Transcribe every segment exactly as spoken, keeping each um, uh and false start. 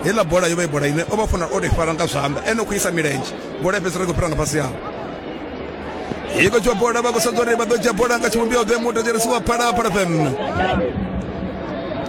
Heiḽa bola yo vha i bola ine o vha funa o tou i fara nga zwanḓa, ene u khou isa milenzhe, bola ya fhedzisela i khou fhira nga fhasi hawe. I khou dzhiwa bola, vha khou sedza uri vha ḓo dzhia bola nga tshivhumbeo ḓe. Muthetshelesi wa Phalaphala F M,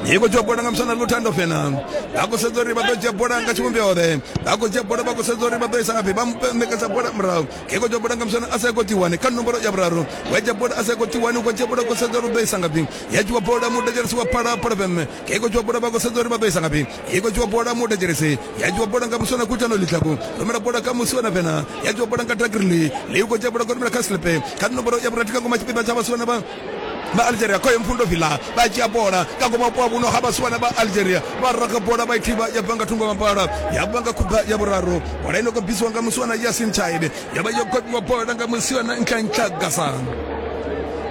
i khou dzhiwa bola nga musana Luthando Fena. Vha khou sedza uri vha ḓo dzhia bola nga tshivhumbeo ḓe. Vha khou dzhia bola, vha khou sedza uri vha ḓo isa ngafhi. Vha ṋekedza bola murahu. I khou dzhia bola nga musana Aseko Tiwani kha nomboro ya vhuraru. Wa dzhia bola Aseko Tiwani, u khou dzhia bola, khou sedza uri u ḓo isa ngafhi. Ya dzhiwa bola, muthetshelesi wa Phalaphala F M. I khou dzhiwa bola, vha khou sedza uri vha ḓo isa ngafhi. I khou dzhiwa bola, muthetshelesi. Ya dzhiwa bola nga musana Kutano Litlhaku, rumela bola kha Musiwana Fena. Ya dzhiwa bola nga Tagrili li, khou dzhia bola, khou rumela kha Slipe kha nomboro ya vhurathi kha ngoma tshipiḓa tsha vhasiwana vha vha Algeria. Khoyo Mfundo Vila vha dzhia bola ka ngoma vhupo vhuno ha vhasiwana vha Algeria, vha raga bola, vha i thivha, ya bva nga thungo mapala, ya bva nga khuba ya vhuraru. Bola ino khou bvisiwa nga musiwana Yasin Chaide, ya vha yo kopiwa bola nga musiwana Ntlhantlha Gasa.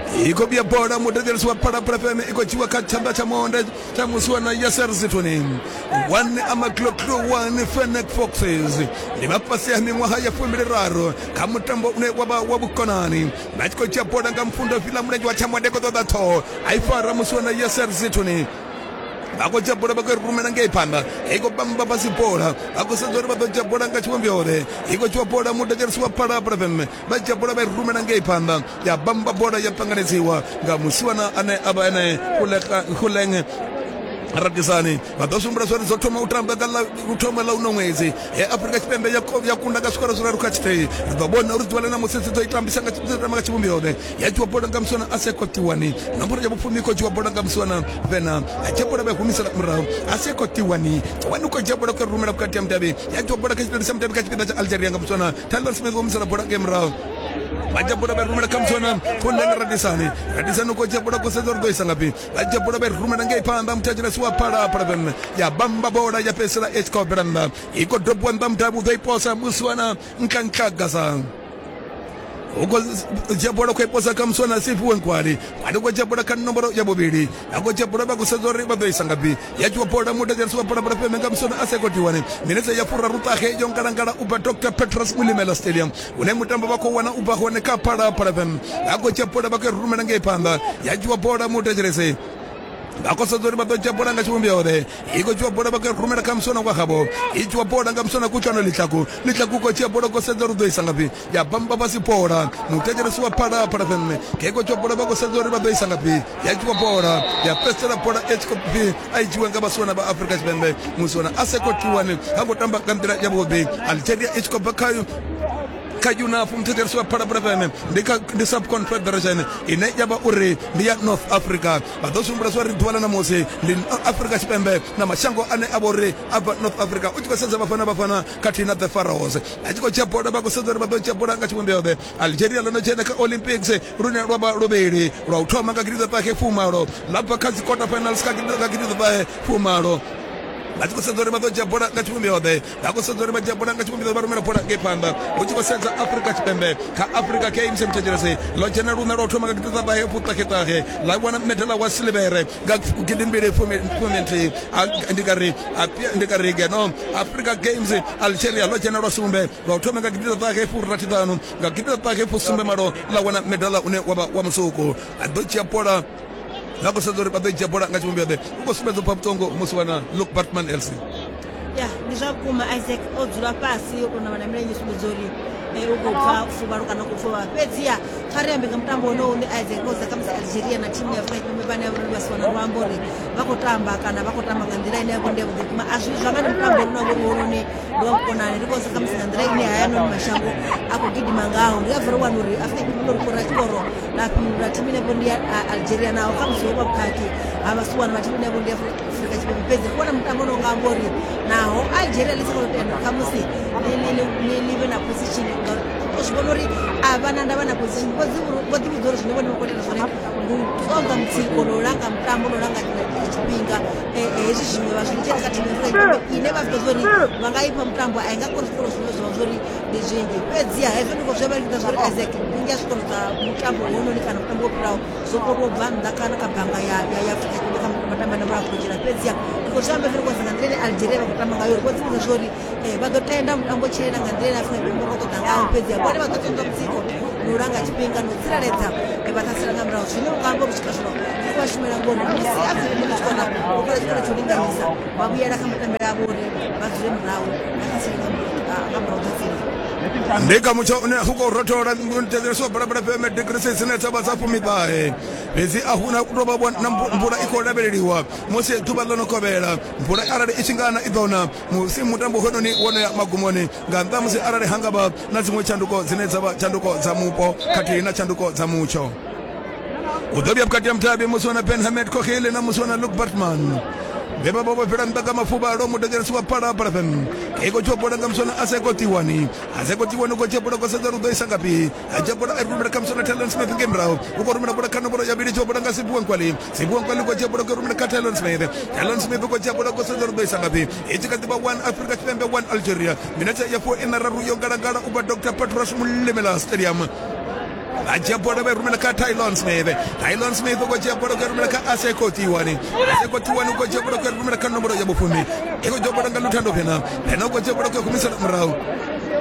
I khou vhuya bola, muthetshelesi wa Phalaphala F M, i khou dzhiwa kha tshanḓa tsha monde tsha musiwana Yaser Zitoni. One Amakloklo one Fennec Foxes ndi vha fhasi ha miṅwaha ya fumbiliraru kha mutambo une wa vha wa vhukonani. Vha tshi khou dzhia bola nga Mfundo Vila, mulenzhe wa tshamonde, khou ṱoḓa ṱhoho, a i fara musiwana Yaser Zitoni. Vha khou dzhia bola, vha khou i rumela ngei phanḓa, i khou bamba fhasi bola. Vha khou sedza uri vha ḓo dzhia bola nga tshivhumbeo ḓe. I khou dzhiwa bola, muthetshelesi wa Phalaphala F M. Vha dzhia bola, vha i rumela ngei phanḓa, ya bamba bola, ya ṱanganedziwa nga musiwana ane a vha ene Khuleng Radisani. Vha ḓo sumbula zwa uri dzo thoma u tamba nga ḽa u thoma ḽa uno ṅwedzi he Afrika Tshipembe ya ya kunda nga zwikoro zwiraru kha tshithihi. Ri ḓo vhona uri ḓuvha ḽa ṋamusi dzi ḓo i tambisa nga tamba nga tshivhumbeo ḓe. Ya dzhiwa bola nga musiwana Aseko Tiwani, nomboro ya vhufumi. I khou dzhiwa bola nga musiwana Vena, a dzhia bola, vha i humisela murahu. Aseko Tiwani, Tiwani u khou dzhia bola, khou rumela vhukati ha mudavhi. Ya dzhiwa bola kha tshipiḓa tsha mudavhi kha tshipiḓa tsha Algeria nga musiwana Tyler Smith, humisela bola ngei murahu. Vha dzhia bola, vha i rumela kha musiwana Khuleng Radisani. Radisani u khou dzhia bola, khou sedza uri ḓo isa ngafhi. Vha dzhia bola, vha i rumela ngei phanḓa, muthetshelesi wa Phalaphala F M. Ya bamba bola, ya fhedzisela i tshi khou bvela nnḓa. I khou dobiwa nnḓa mudavhi, u ḓo i posa musiwana Ntlhantlha Gasa. U khou dzhia bola, khou i posa kha musiwana Siphiwe Nkwali. Nkwali u khou dzhia bola kha nomboro ya vhuvhili. Vha khou dzhia bola, vha khou sedza uri vha ḓo isa ngafhi. Ya dzhiwa bola, muthetshelesi wa Phalaphala F M, nga musiwana Aseko Tiwani. Minetse ya furaruṱahe yo ngalangala u bva Doctor Petrus Molemela Stadium, hune mutambo vha khou wana u bva hone kha Phalaphala F M. Vha khou dzhia bola, vha khou i rumela ngei phanḓa. Ya dzhiwa bola, muthetshelesi. Vha khou sedza uri vha ḓo dzhia bola nga tshivhumbeo ḓe. I khou dzhiwa bola, vha khou rumela kha muswana wa havho. I dzhiwa bola nga muswana Kutlwano Litlhaku. Litlhaku khou dzhia bola, khou sedza uri u ḓo isa ngafhi. Ya bamba fhasi bola, muthetshelesi wa Phalaphala F M. I khou dzhiwa bola, vha khou sedza uri vha ḓo isa ngafhi. Ya dzhiwa bola, ya fhedzisela bola i tshi khou pfi a i dzhiwe nga vhasiwana vha Afrika Tshipembe. Musiwana Aseko Tiwani ha ngo tamba nga nḓila yavhuḓi. Algeria i tshi khou bva kha kha UNAF, muthetshelesi wa Phalaphala F M, ndi kha ndi sub confederation ine ya vha uri ndi ya North Africa. Vha ḓo sumbula zwa uri ḓuvha ḽa ṋamusi ndi Afrika Tshipembe na mashango ane a vha uri a bva North Africa. U tshi khou sedza Bafana Bafana khathihi na the Pharaohs, a tshi khou dzhia bola, vha khou sedza uri vha ḓo dzhia bola nga tshivhumbeo ḓe. Algeria ḽo no dzhena kha Olympics lune lwa vha luvhili, lwa u thoma nga gidiḓaṱahe fumalo, ḽa bva kha dzi quarter finals kha gidiḓaṱahe fumalo. Vha tshi khou sedza uri vha ḓo dzhia bola nga tshivhumbeo ḓe. Vha khou sedza uri vha dzhia bola nga tshivhumbeo, vha rumela bola ngei phanḓa. Hu tshi khou sedza Afrika Tshipembe kha Africa Games, muthetshelesi, ḽo dzhena luṋa lwa u thoma nga gidiḓaṱahe fuṱaheṱahe, ḽa wana medala wa silivhere nga gidimbili fumi nthihi. Ndi nga ri ndi nga ri ngeno Africa Games, Algeria ḽo dzhena lwa sumbe, lwa u thoma nga gidiḓaṱahe furathi ṱhanu, nga gidiḓaṱahe fusumbe malo ḽa wana medala une wa vha wa musuku. A ḓo dzhia bola, vha khou sedza uri vha ḓo dzhia bola nga tshivhumbeo ḓe. U khou sumbedza upfa vhuṱungu musiwana Luke Batman L C. Ya, ndi zwa vhukuma, Isaac. O dzula fhasi, o tou navha na milenzhe, sumbedza uri u khou pfa fuvhalo kana u khou pfa. Fhedziha kha ri ambe nga mutambo wone une, Isaac, koza khamusi Algeria na thimu ya Afrika Tshipembe vhane vha vha si wana luambo uri vha khou tamba kana vha khou tamba nga nḓila ine ya vha ndi yavhuḓi vhukuma. A zwi zwa nga ndi mutambo une wa vha uri wononi ndi wa vhukonani. Ri khou khamusi nga nḓila ine hayanoni mashango a khou gidima ngaho, ndi nga bva ri wana uri Afrika Tshipembe ḽo ri kora tshikoro ḽa fhindula thimu ine vho ndi ya Algeria, naho khamusi ho vha vhukhakhi ha vhasiwana vha thimu ine vho ndi ya Afrika Tshipembe. Fhedzi ri vhona mutambo une unga amba uri naho Algeria ḽi sa khou tenda khamusi ḽi vhe na position, ngauri u zwi vhona uri a vha na ndavha na position. Vho ḓivhudza uri zwine vhone vha khou ita zwone ndi u ṱoḓa mutsiko no langa mutambo no langa tshifhinga. Hezwi zwiṅwe vha zwi litshela kha thimu ya Afrika Tshipembe ine vha zwi ḓivha uri vha nga ifha mutambo a i nga koni zwikoro zwine zwa vha zwori ndi zwinzhi. Fhedziha hezwo ndi khou zwi vha lingedza zwori, Isaac, vhunzhi ha zwikoro zwa mutambo hononi kana mutambo wo fhiraho zwo kona u bva nnḓa kana kha bannga ya ya ya Afrika Tshipembe kha matambo ane vha khou dzhena. Fhedziha ndi khou zwi amba fhiri nga nḓila ine Algeria vha khou tamba ngayo, uri vho ḓivhudza zwori vha ḓo tenda mutambo tshilela nga nḓila ine Afrika Tshipembe vha khou ṱoḓa ngaho, fhedziha vhone vha ḓo ṱoḓa mutsiko. na u langa tshifhinga na u tsireledza vhaṱhasela nga murahu. Zwine u nga amba uri swika zwino zwi khou vha shumela ngori musi Afrika Tshipembe tshi kona u fhela tshikolo tsho linganyisa vha vhuyela kha matambele avho uri vha dzule murahu vha ṱhasele nga murahu ṱhaseli. Ndi kha mutsho une u khou rothola thetshelesiwa Phalaphala F M degrees dzine dza vha dza fumiṱahe, fhedzi a huna u tou vha na mvula i khou lavheleliwa musi ḓuvha ḽo no kovhela. Mvula arali i tshi nga na i ḓo na musi mutambo hoyunoni wo no ya magumoni, nga nnḓa musi arali ha nga vha na dziṅwe tshanduko dzine dza vha tshanduko dza mupo khathihi na tshanduko dza mutsho. U ḓo vhuya vhukati ha mutavhi musi wana Ben Hamed Kokhele na musi wana Luke Bartman vhe vha vha vho fhela nnḓa nga mafuvhalo. Muthetshelesi wa Phalaphala F M i khou dzhia bola nga muswana Aseko Tiwani. Aseko Tiwani u khou dzhia bola khou sedza uri u ḓo isa ngafhi. A dzhia bola a rumela kha muswana Talon Smith ngei murahu, u khou rumela bola kha nomboro ya vhili, dzhia bola nga Siphiwe Nkwali. Siphiwe Nkwali u khou dzhia bola khou rumela kha Talon Smith. Talon Smith u khou dzhia bola khou sedza uri u ḓo isa ngafhi. I tshi kha ḓi vha one Afrika Tshipembe one Algeria. Minetse ya fuwa ina raru yo ngalangala u bva Doctor Petros Molemela Stadium. A dzhia bola vha i rumela kha Tylon Smith. Tylon Smith u khou dzhia bola khou rumela kha Aseko Tiwani. Aseko Tiwani u khou dzhia bola khou rumela kha nomboro ya vhufumi. I khou dzhia bola nga Luthando Phena. Phena u khou dzhia bola khou humisela murahu.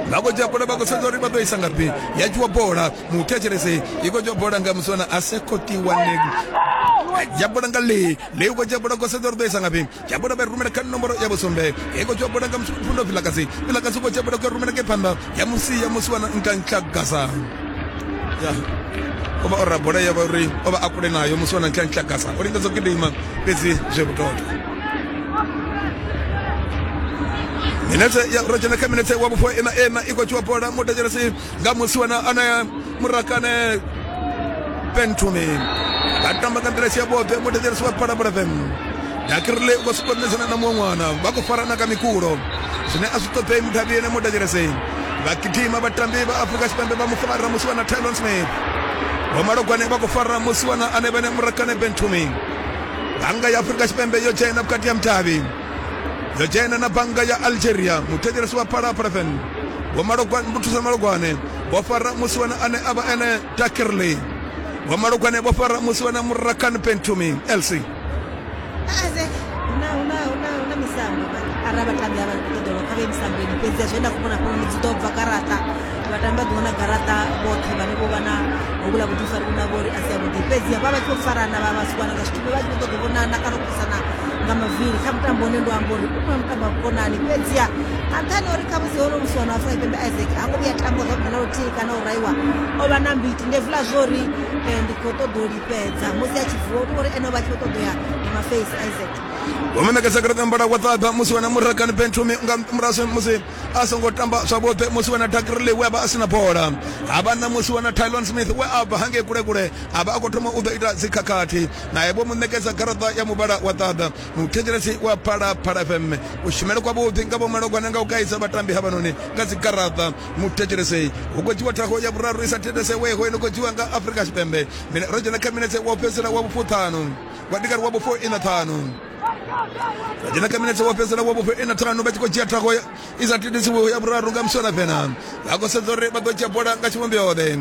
Vha khou dzhia bola vha khou sedza uri vha ḓo isa ngafhi. Ya dzhiwa bola muthetshelesi i khou dzhia bola nga muswana Aseko Tiwani. Dzhia bola nga Lee. Lee u khou dzhia bola khou sedza uri ḓo isa ngafhi. Dzhia bola vha i rumela kha nomboro ya vhusumbe. I khou dzhia bola nga Mfundo Vilakazi. Vilakazi u khou dzhia bola khou rumela ngei phanḓa. Ya musia musiwana Nkanhlagasa. Ya o vha o ra bola ya vha uri o vha a kule nayo musi wana Nkanhlagasa o lingedza u gidima fhedzi zwe vhutoto. Minetse ya ro dzhena kha minetse wa vhufo ina ena i khou dzhiwa bola muthetshelesi nga musi wana ane Murakane Pentumi. Vha tamba nga nḓila si yavhuḓi muthetshelesi wa Phalaphala F M. Dakirile u khou sukonedzana na muṅwe ṅwana vha khou farana nga mikulo zwine a zwi ṱoḓei muthavhi ene muthetshelesi. Vha gidima vhatambi vha Afrika Tshipembe vha mu fara musi wana Tylon Smith. Vho Malogwane vha khou fara musi wana ane vhene Murakane Bentumi. Bannga ya Afrika Tshipembe yo dzhena vhukati ha mutavhi, yo dzhena na bannga ya Algeria. Muthetshelesi wa Phalaphala F M Vho Malogwane vho thusa Malogwane vho fara musi wana ane a vha ene Dakirley. Vho Malogwane vho fara musi wana Murakane Bentumi L C. Isaac, huna huna huna huna misambo arali vhatambi avha khou ṱoḓa kha vhe misamboni, fhedzi zwe nda khou vhona fhano dzi ḓo bva garaṱa, vhatambi vha ḓo wana garaṱa vhoṱhe vhane vho vha na hovhula vhuḓifari vhune ha vha uri a si avhuḓi. Fhedzi vha vha tshi khou farana vha vhasiwana nga zwithu, vha tshi khou ṱoḓa u vhonana kana u posana nga mavili kha mutambo une ndo amba uri u khou mutambo wa vhukonani. Fhedziha nga nṱhani ha uri khamusi hono musiwana wa Afrika Tshipembe Isaac ha ngo vhuya tamba zwavhuḓi na luthihi kana u raiwa, o vha na mbiti. Ndi hezwiḽa zwo uri ndi khou ṱoḓa u lifhedza musi a tshi vuwa, u uri ene o vha a tshi khou ṱoḓa u ya nga mafeisi Isaac. Vho ṋekedza garaṱa mbala wa ṱaḓa musi wana Murakane Bentumi nga murahu musi a songo tamba zwavhuḓi musi wana Dakirley we a vha a sina bola. Ha vha na musi wana Tylon Smith we a bva hangei kule kule a vha a khou thoma u ḓo ita dzikhakhathi naye vho mu ṋekedza garaṱa ya muvhala wa ṱaḓa. Muthetshelesi wa Phalaphala F M u shumele kwavhuḓi nga vho Malogwane nga u kaidza vhatambi havhanoni nga dzigaraṱa. Muthetshelesi hu khou dzhiwa thago ya vhuraru i sa thetshelesiweho ino khou dzhiwa nga Afrika Tshipembe. Ro dzhena kha minetse wa u fhedzisela wa vhufuṱhanu wa ndikari wa vhufo ina ṱhanu. Ro dzhena kha minetse wa fhedzisela wa vhufo ina ṱhanu vha tshi khou dzhia thago i sa thithisiweho ya vhuraru nga muswana Fena. Vha khou sedza uri vha ḓo dzhia bola nga tshivhumbeo-ḓe.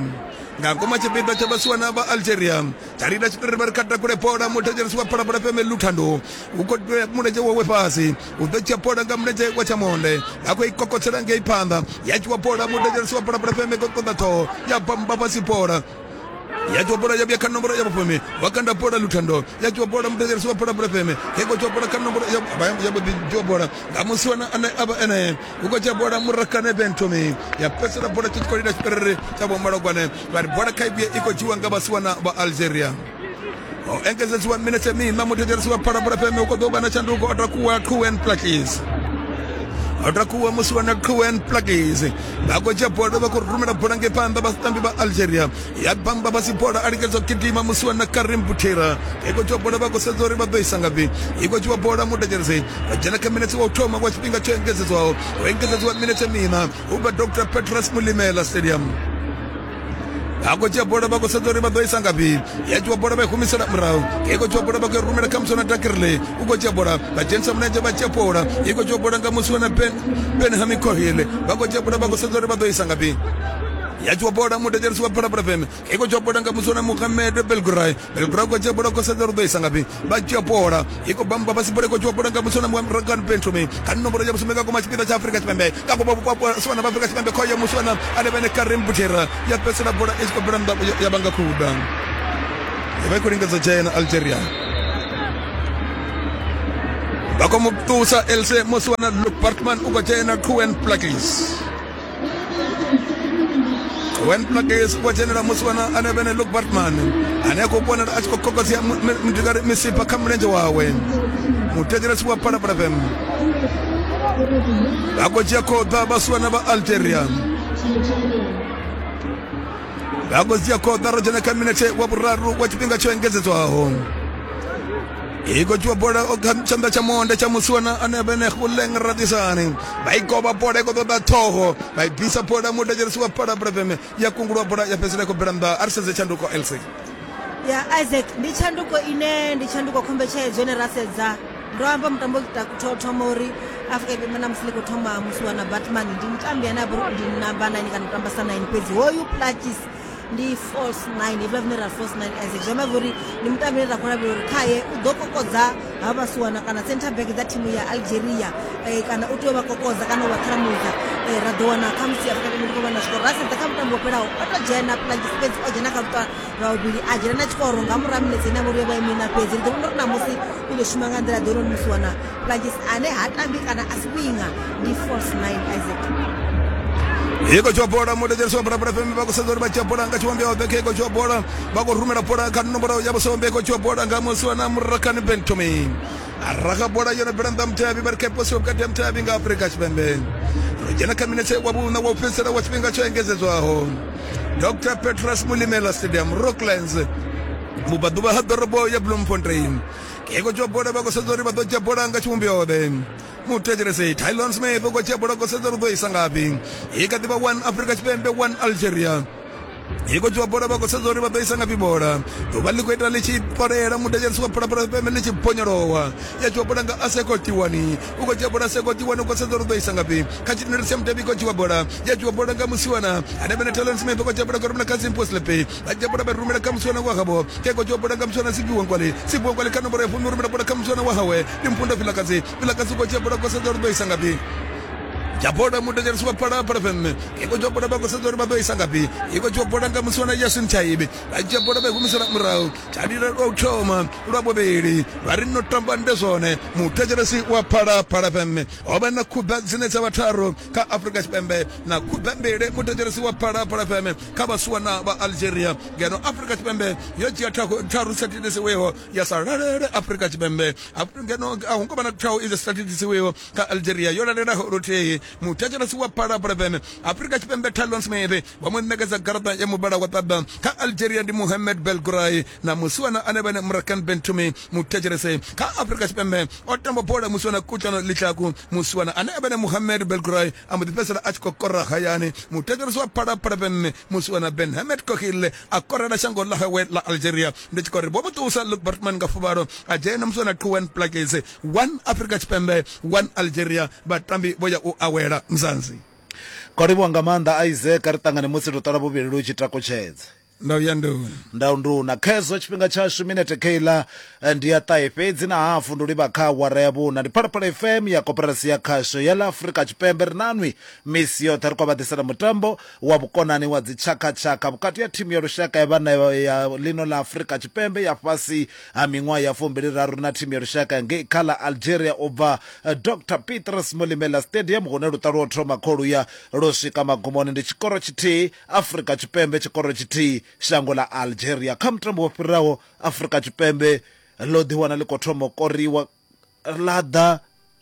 Nga ngoma tshipiḓa tsha vhasiwana vha Algeria tsha lila tshiṱori vha ri kha takule bola. Muthetshelesi wa Phalaphala F M Luthando u khou mulenzhe wawe fhasi u ḓo dzhia bola nga mulenzhe wa tshamonde a khou i kokotsela ngei phanḓa ya dzhiwa bola. Muthetshelesi wa Phalaphala F M khou ṱoḓa ṱhoho ya bamba fhasi bola ya dzhiwa bola ya vhuya kha nomboro ya vhufumi wa kanda bola Luthando ya dzhiwa bola. Muthetshelesi wa Phalaphala F M i khou dzhiwa bola kha nomboro ya vhuḓi dzhiwa bola nga musiwana ane a vha ene u khou dzhia bola Murakane Bentumi ya fhedzisela bola tshi khou lila tshiperere tsha Vho Malogwane vha ri bola kha i vhuye i khou dzhiwa nga vhasiwana vha Algeria. O engedzedziwa minetse miṋa. Muthetshelesi wa Phalaphala F M u khou ḓo vha na tshanduko o takuwa Quen Plakis. O takuwa musi wana Quen Plakis vha khou dzhia bola vha khou rumela bola ngei phanḓa vhatambi vha Algeria ya bamba fhasi bola a lingedza u gidima musi wana Karim Butera i khou dzhiwa bola vha khou sedza uri vha ḓo isa ngafhi. I khou dzhiwa bola muthetshelesi vha dzhena kha minetse wa u thoma wa tshifhinga tsho engedzedzwaho ho engedzedziwa minetse miṋa u bva Doctor Petros Molemela Stadium. Vha khou dzhia bola vha khou sedza uri vha ḓo isa ngafhi. Ya dzhiwa bola vha i humisela murahu. I khou dzhiwa bola vha khou rumela kha muswana Dakirley u khou dzhia bola vha dzhenisa mulenzhe vha dzhia bola. I khou dzhiwa bola nga musiwana Ben Benhami Kohile vha khou dzhia bola vha khou sedza uri vha ḓo isa ngafhi. Ya dzhiwa bola mudedzelisi wa Phalaphala F M i khou dzhiwa bola nga muswana Mohamed Belgray. Belgray khou dzhia bola khou sedza uri ḓo isa ngafhi. Vha dzhia bola i khou bamba fhasi, bola i khou dzhiwa bola nga muswana Rakan Bentomi kha nomboro ya vhusumbe nga koma tshipiḓa tsha Afrika Tshipembe. Ka vhaswana vha Afrika Tshipembe khoyo muswana ane vhene Karim Butera ya fhedzisela bola i tshi khou bvela nnḓa ya vhanga khuda. Vha khou lingedza dzhena Algeria. Vha khou mu ṱusa Else muswana Luke Bartman u khou dzhena Quen Plakis. Quen Plakis wa dzhenela muswana ane vhene Luke Bartman ane a khou vhonala a tshi khou kokodzea ndingari misipha kha mulenzhe wawe. Muthetshelesi wa Phalaphala F M vha khou dzhia khoḓa vhaswana vha Algeria. Vha khou dzhia khoḓa ro dzhena kha minete wa vhuraru wa tshifhinga tsho engedzedzwaho. I khou dzhiwa bola kha tshanḓa tsha monde tsha muswana ane vhene Khuleng Radisani. Vha i govha bola i khou ṱoḓa ṱhoho, vha i bvisa bola mudedzelisi wa Phalaphala F M ya kungulwa bola ya fhedzisela i khou bvela nnḓa. A ri sedze tshanduko L C. Ya Isaac, ndi tshanduko ine ndi tshanduko khombetshedzo ine ra sedza. Ndo amba mutambo u thoma uri Afrika Tshipembe na musi ḽi khou thoma muswana Batman ndi mutambi ane a vha uri ndi namba nine kana u tamba sa nine, fhedzi hoyu Plakis ndi false nine, hezwiḽa zwine ra false nine Isaac. Zwi amba uri ndi mutambi une ra khou lavhelela uri khaye u ḓo kokodza ha vhasiwana kana center back dza thimu ya Algeria, eh, kana u tea u vha kokodza kana u vha ṱharamudza. Eh, ra ḓo wana khamusi Afrika Tshipembe ndi khou vha na zwikoro. Ra sedza kha mutambo wo fhelaho o to dzhena Plakis, fhedzi o dzhena kha luṱa lwa vhuvhili a dzhena na tshikoro nga murahu ha minetse ine ya vha uri yo vha i miṋa fhedzi. Ri ḓo vhona uri namusi u ḓo shuma nga nḓila ḓe hounoni musiwana Plakis ane ha tambi kana a si winga, ndi false nine Isaac. I khou dzhiwa bola mudedzelisi wa Phalaphala F M vha khou sedza uri vha dzhia bola nga tshivhumbeo ḓe. Khe i khou dzhiwa bola vha khou rumela bola kha nomboro ya vhusumbe, i khou dzhiwa bola nga muswana Murakani Bentomi. A raga bola yo no bvela nnḓa mutevhi, vha ri kha posiwa vhukati ha mutevhi nga Afrika Tshipembe. Ro dzhena kha minetse wa vhuṋa wa u fhedzisela wa tshifhinga tsho engedzedzwaho. Doctor Petrus Mulimela Stadium, Rocklands, vhubvaḓuvha ha ḓorobo ya Bloemfontein. I khou dzhiwa bola vha khou sedza uri vha ḓo dzhia bola nga tshivhumbeo ḓe. Muthetshelesi Tylon Smith u khou dzhia bola khou sedza uri ḓo isa ngafhi. I kha ḓi vha one Afrika Tshipembe one Algeria. I khou dzhiwa bola vha khou sedza uri vha ḓo isa ngafhi bola. Ḓuvha ḽi khou ita ḽi tshi kolela mudedzelisi wa Phalaphala F M ḽi tshi bonyolowa. Ya dzhiwa bola nga Aseko Tiwani. U khou dzhia bola Aseko Tiwani u khou sedza uri ḓo isa ngafhi. Kha tshitendele tsha mutevhi i khou dzhiwa bola. Ya dzhiwa bola nga musiwana ane vhene Talon Smith u khou dzhia bola khou rumela kha Simpo Slepe. Vha dzhia bola vha rumela kha musiwana wa havho. Khe khou dzhiwa bola nga musiwana Siphiwe Nkwale. Siphiwe Nkwale kha nomboro ya fumi u rumela bola kha musiwana wa hawe. Ndi Mfundo Vilakazi. Vilakazi u khou dzhia bola khou sedza uri ḓo isa ngafhi. Dzhia bola mudedzelisi wa Phalaphala F M i khou dzhiwa bola vha khou sedza uri vha ḓo isa ngafhi. I khou dzhiwa bola nga musiwana Yasin Chaibi. Vha dzhia bola vha i humisela murahu. Tshalila lwa u thoma lwa vhuvhili vha ri no tamba ndi zwone. Muthetshelesi wa Phalaphala F M ho vha na khuda dzine dza vha tharu kha Afrika Tshipembe na khuda mbili muthetshelesi wa Phalaphala F M kha vhasiwana vha Algeria. Ngeno Afrika Tshipembe yo dzhia tharu sa thithisiweho ya sa lalele Afrika Tshipembe. Ngeno a hu ngo vha na tharu i sa thithisiweho kha Algeria yo lalelaho luthihi. Muthetshelesi wa Phalaphala F M Afrika Tshipembe Talon Smith vha mu ṋekedza garaṱa ya muvhala wa ṱaḓa. Kha Algeria ndi Mohamed Belgray na musiwana ane vhene Murakan Bentumi. Muthetshelesi kha Afrika Tshipembe o tamba bola musiwana Kutlano Litlhaku. Musiwana ane vhene Mohamed Belgray a mbo ḓi fhedzisela a tshi khou kora hayani. Muthetshelesi wa Phalaphala F M musiwana Ben Hamed Kokhile a korela shango ḽa hawe ḽa Algeria. Ndi tshi khou ri vho mu ṱusa Luke Bartman nga fuvhalo a dzhena musiwana Quen Plakis. One Afrika Tshipembe one Algeria. Vhatambi vho ya u awela Mzansi. Ko livhuwa nga maanḓa Isaac, ri ṱangane musi ro ṱola vhuvhili lu tshi takutshedza. Ndau ya nduna. Ndau nduna. Khezwo tshifhinga tshashu minete kheila ndi ya ṱahe fhedzi na hafu ndo livha kha awara ya vhuna. Ndi Phalaphala F M ya Koporasi ya Khasho ya ḽa Afrika Tshipembe. Ri nanwi misi yoṱhe ri khou vha ḓisela mutambo wa vhukonani wa dzitshakhatshakha vhukati ha thimu ya lushaka ya vhana ya ḽino ḽa Afrika Tshipembe ya fhasi ha miṅwaha ya fumbili raru na thimu ya lushaka ngei kha ḽa Algeria u bva Doctor Petrus Molimela Stadium hune luṱa lwo thoma kholuya lwo swika magumoni. Ndi tshikoro tshithihi Afrika Tshipembe, tshikoro tshithihi shango ḽa Algeria. Kha mutambo wo fhiraho Afrika Tshipembe ḽo ḓiwana ḽi khou thoma u koriwa, ḽa ḓa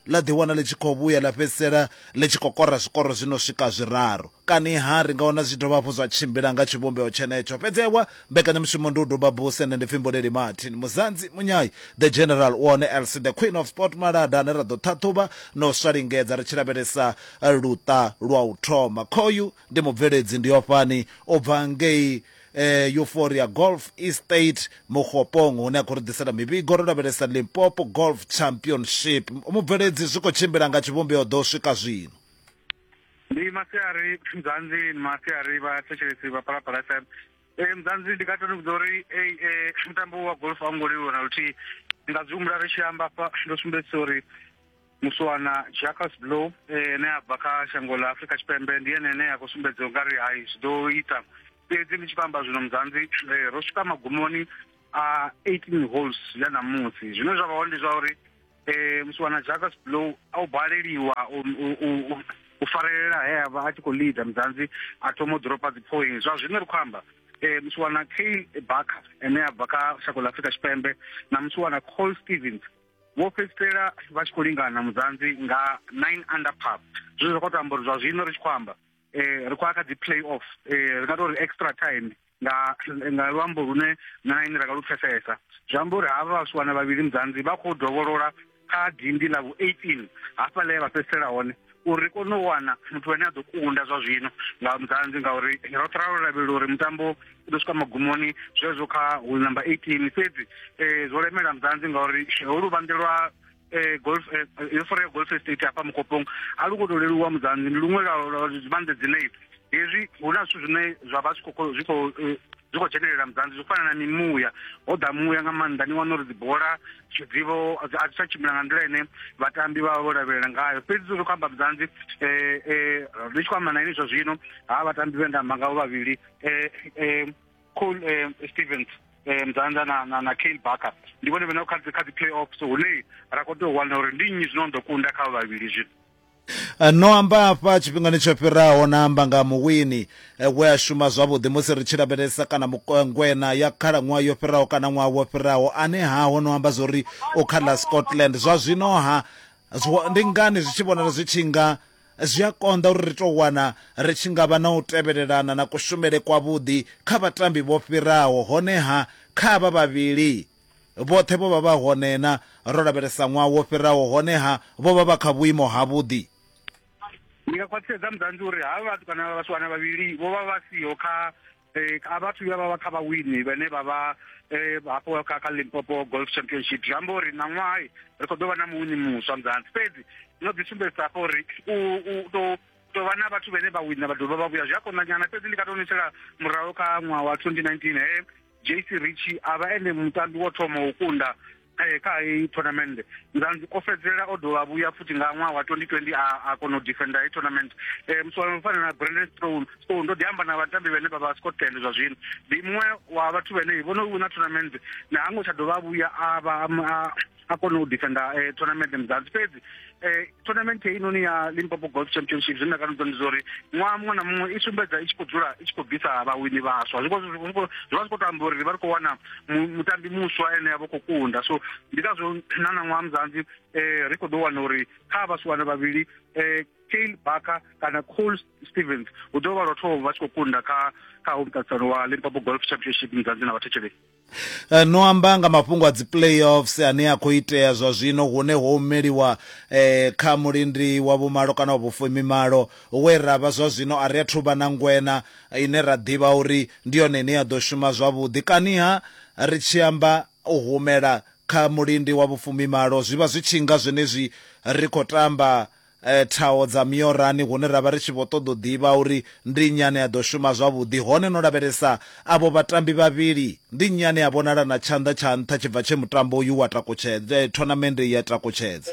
ḽa ḓiwana ḽi tshi khou vhuya ḽa fhedzisela ḽi tshi khou kora zwikoro zwi no swika zwiraru. Kani ha ri nga wana zwi dovha hafhu zwa tshimbila nga tshivhumbeo tshenetsho. Fhedzi ewa mbekanyamushumo ndi u duba buse, nṋe ndi pfi Mboleli Martin Muzanzi Munyai the General one L C the Queen of Sport Malada ane ra ḓo ṱhaṱhuvha no swalingedza ri tshi lavhelesa luṱa lwa u thoma. Khoyu ndi mubveledzi ndi ofhani u bva ngei eh, Euphoria Golf Estate Mokgopong hune a khou ri ḓisela mivhigo ro lavhelesa Limpopo Golf Championship. Mubveledzi zwi khou tshimbila nga tshivhumbeo ḓo swika zwino. Ndi masiari Mzansi, masiari vha thetshelesi vha Phalaphala F M. Eh Mzansi ndi nga to vhudza uri eh mutambo wa golf a ngo leluwa na luthihi. Ndi nga zwi humbula ri tshi amba afha ndo sumbedzisa uri muswana Jacques Blow eh ne a bva kha shango ḽa Afrika Tshipembe ndi ene ane a khou sumbedza ungari hai zwi ḓo ita. Fhedzi ndi tshi khou amba zwino Mzansi ro swika magumoni a eighteen holes ya ṋamusi. Zwine zwa vha hone ndi zwa uri eh muswana Jacques Blow a u baleliwa u u farelela he a vha a tshi khou leader Mzansi a thoma u dropa dzi points. Zwa zwino ri khou amba eh muswana Kyle Barker ene a bva kha shango ḽa Afrika Tshipembe na muswana Cole Stevens vho fhedzisela vha tshi khou lingana Mzansi nga nine under par. Zwine zwa khou to amba uri zwa zwino ri tshi khou amba eh ri khou ya kha dzi play off, eh ri nga tou ri extra time nga nga luambo lune na ine ra nga lu pfesesa. Zwi amba uri havha vhaswana vhavhili Mzansi vha khou dovholola kha dindi ḽa vhu eighteen hafha ḽe vha fhedzisela hone uri ri kone u wana muthu ane a ḓo kunda zwa zwino nga Mzansi, ngauri roṱhe ra lavhelela uri mutambo u ḓo swika magumoni zwezwo kha hole number eighteen. Fhedzi eh zwo lemela Mzansi ngauri holu luvhanḓe lwa eh golf Euphoria Golf Estate hafha Mokopong a lu khou tou leluwa Mzansi, ndi luṅwe lwa zwivhanḓe dzine hezwi hu na zwithu zwine zwa vha zwi khou zwi khou zwi khou dzhenelela Mzansi, zwi fana na mimuya. Ho ḓa muya nga maanḓa, ni wana uri dzi bola dzivo a dzi tsha tshimbila nga nḓila ine vhatambi vha vha vho lavhelela ngayo. Fhedzi ri khou amba Mzansi eh eh ri tshi khou amba na ini zwa zwino ha vhatambi vhe nda amba ngavho vhavhili eh eh Cole eh, Stevens eh Mzansi na na, na Kyle Barker ndi vhone vhane kha kha dzi play-offs hune ra khou tea u wana uri ndi nnyi zwino ḓo kunda kha vhavhili zwino. No amba hafha tshifhingani tsho fhiraho na amba nga muwini we a shuma zwavhuḓi musi ri tshi lavhelesa kana ngwena ya khalaṅwaha yo fhiraho kana ṅwaha wo fhiraho ane haho no amba zwori u kha ḽa Scotland. Zwa zwino ha ndi ngani zwi tshi vhonala zwi tshi nga zwi a konḓa uri ri to wana ri tshi nga vha na u tevhelelana na kushumele kwavhuḓi kha vhatambi vho fhiraho, honeha kha avha vhavhili vhoṱhe vho vha vha hone na ro lavhelesa ṅwaha wo fhiraho, honeha vho vha vha kha vhuimo havhuḓi? Ndi nga khwaṱhisedza Mzansi uri havha vhathu kana vhaswana vhavhili vho vha vha siho kha eh a vhathu vha vha kha vhawini vhane vha vha eh hafho kha kha Limpopo Golf Championship. Zwi amba uri na ṅwaha ri khou ḓo vha na muwini muswa Mzansi. Fhedzi no ḓi sumbedzisa hafho uri u u to to vha na vhathu vhane vha wina vha dovha vha vhuya zwi a konḓa nyana. Fhedzi ndi nga tou nisela murahu kha ṅwaha wa twenty nineteen he J C Ritchie a vha ene mutambi wo thoma u kunda kha heyi tournament. Mzansi o fhedzisela o dovha vhuya futhi nga ṅwaha wa twenty twenty a a kona u defenda heyi tournament. Eh muswana fana na Brandon Stone Stone ndo ḓi amba na vhatambi vhane vha vha Scotland zwa zwino ndi muṅwe wa vhathu vhane vho no wina tournament na hango tsha dovha vhuya a vha a kona u defenda eh, tournament Mzansi. Fhedzi eh tournament heinoni ya Limpopo Golf Championship zwine nda nga ndi zwa uri ṅwaha muṅwe na muṅwe i sumbedza i tshi khou dzula i tshi khou bvisa vhawini vhaswa. Zwi zwi vha zwi khou to amba uri vha ri khou wana mutambi muswa ene a vha khou kunda. So ndi ngazwo na na ṅwaha Mzansi eh ri khou ḓo wana uri kha vhaswana vhavhili eh Kyle Barker kana Cole Stevens hu ḓo vha lwa thoma vha tshi khou kunda kha kha muṱaṱisano wa Limpopo Golf Championship Mzansi na vhathetshelesi. No amba nga mafhungo a dzi playoffs ane a khou itea zwa zwino hune ho meliwa eh, kha mulindi wa vhumalo kana wa vhufumimalo we ra vha zwa zwino a ri athu vha na ngwena ine ra ḓivha uri ndi yone ine ya ḓo shuma zwavhuḓi. Kaniha ri tshi amba u humela kha mulindi wa vhufumimalo zwi vha zwi tshi nga zwenezwi ri khou tamba eh, thaho dza miorani hune ra vha ri tshi vho ṱoḓa u ḓivha uri ndi nnyi ane a ḓo shuma zwavhuḓi, hone no lavhelesa avho vhatambi vhavhili ndi nnyi ane a vhonala na tshanḓa tsha nṱha tshi bva tshe mutambo uyu wa takutshedza tournament ya takutshedza?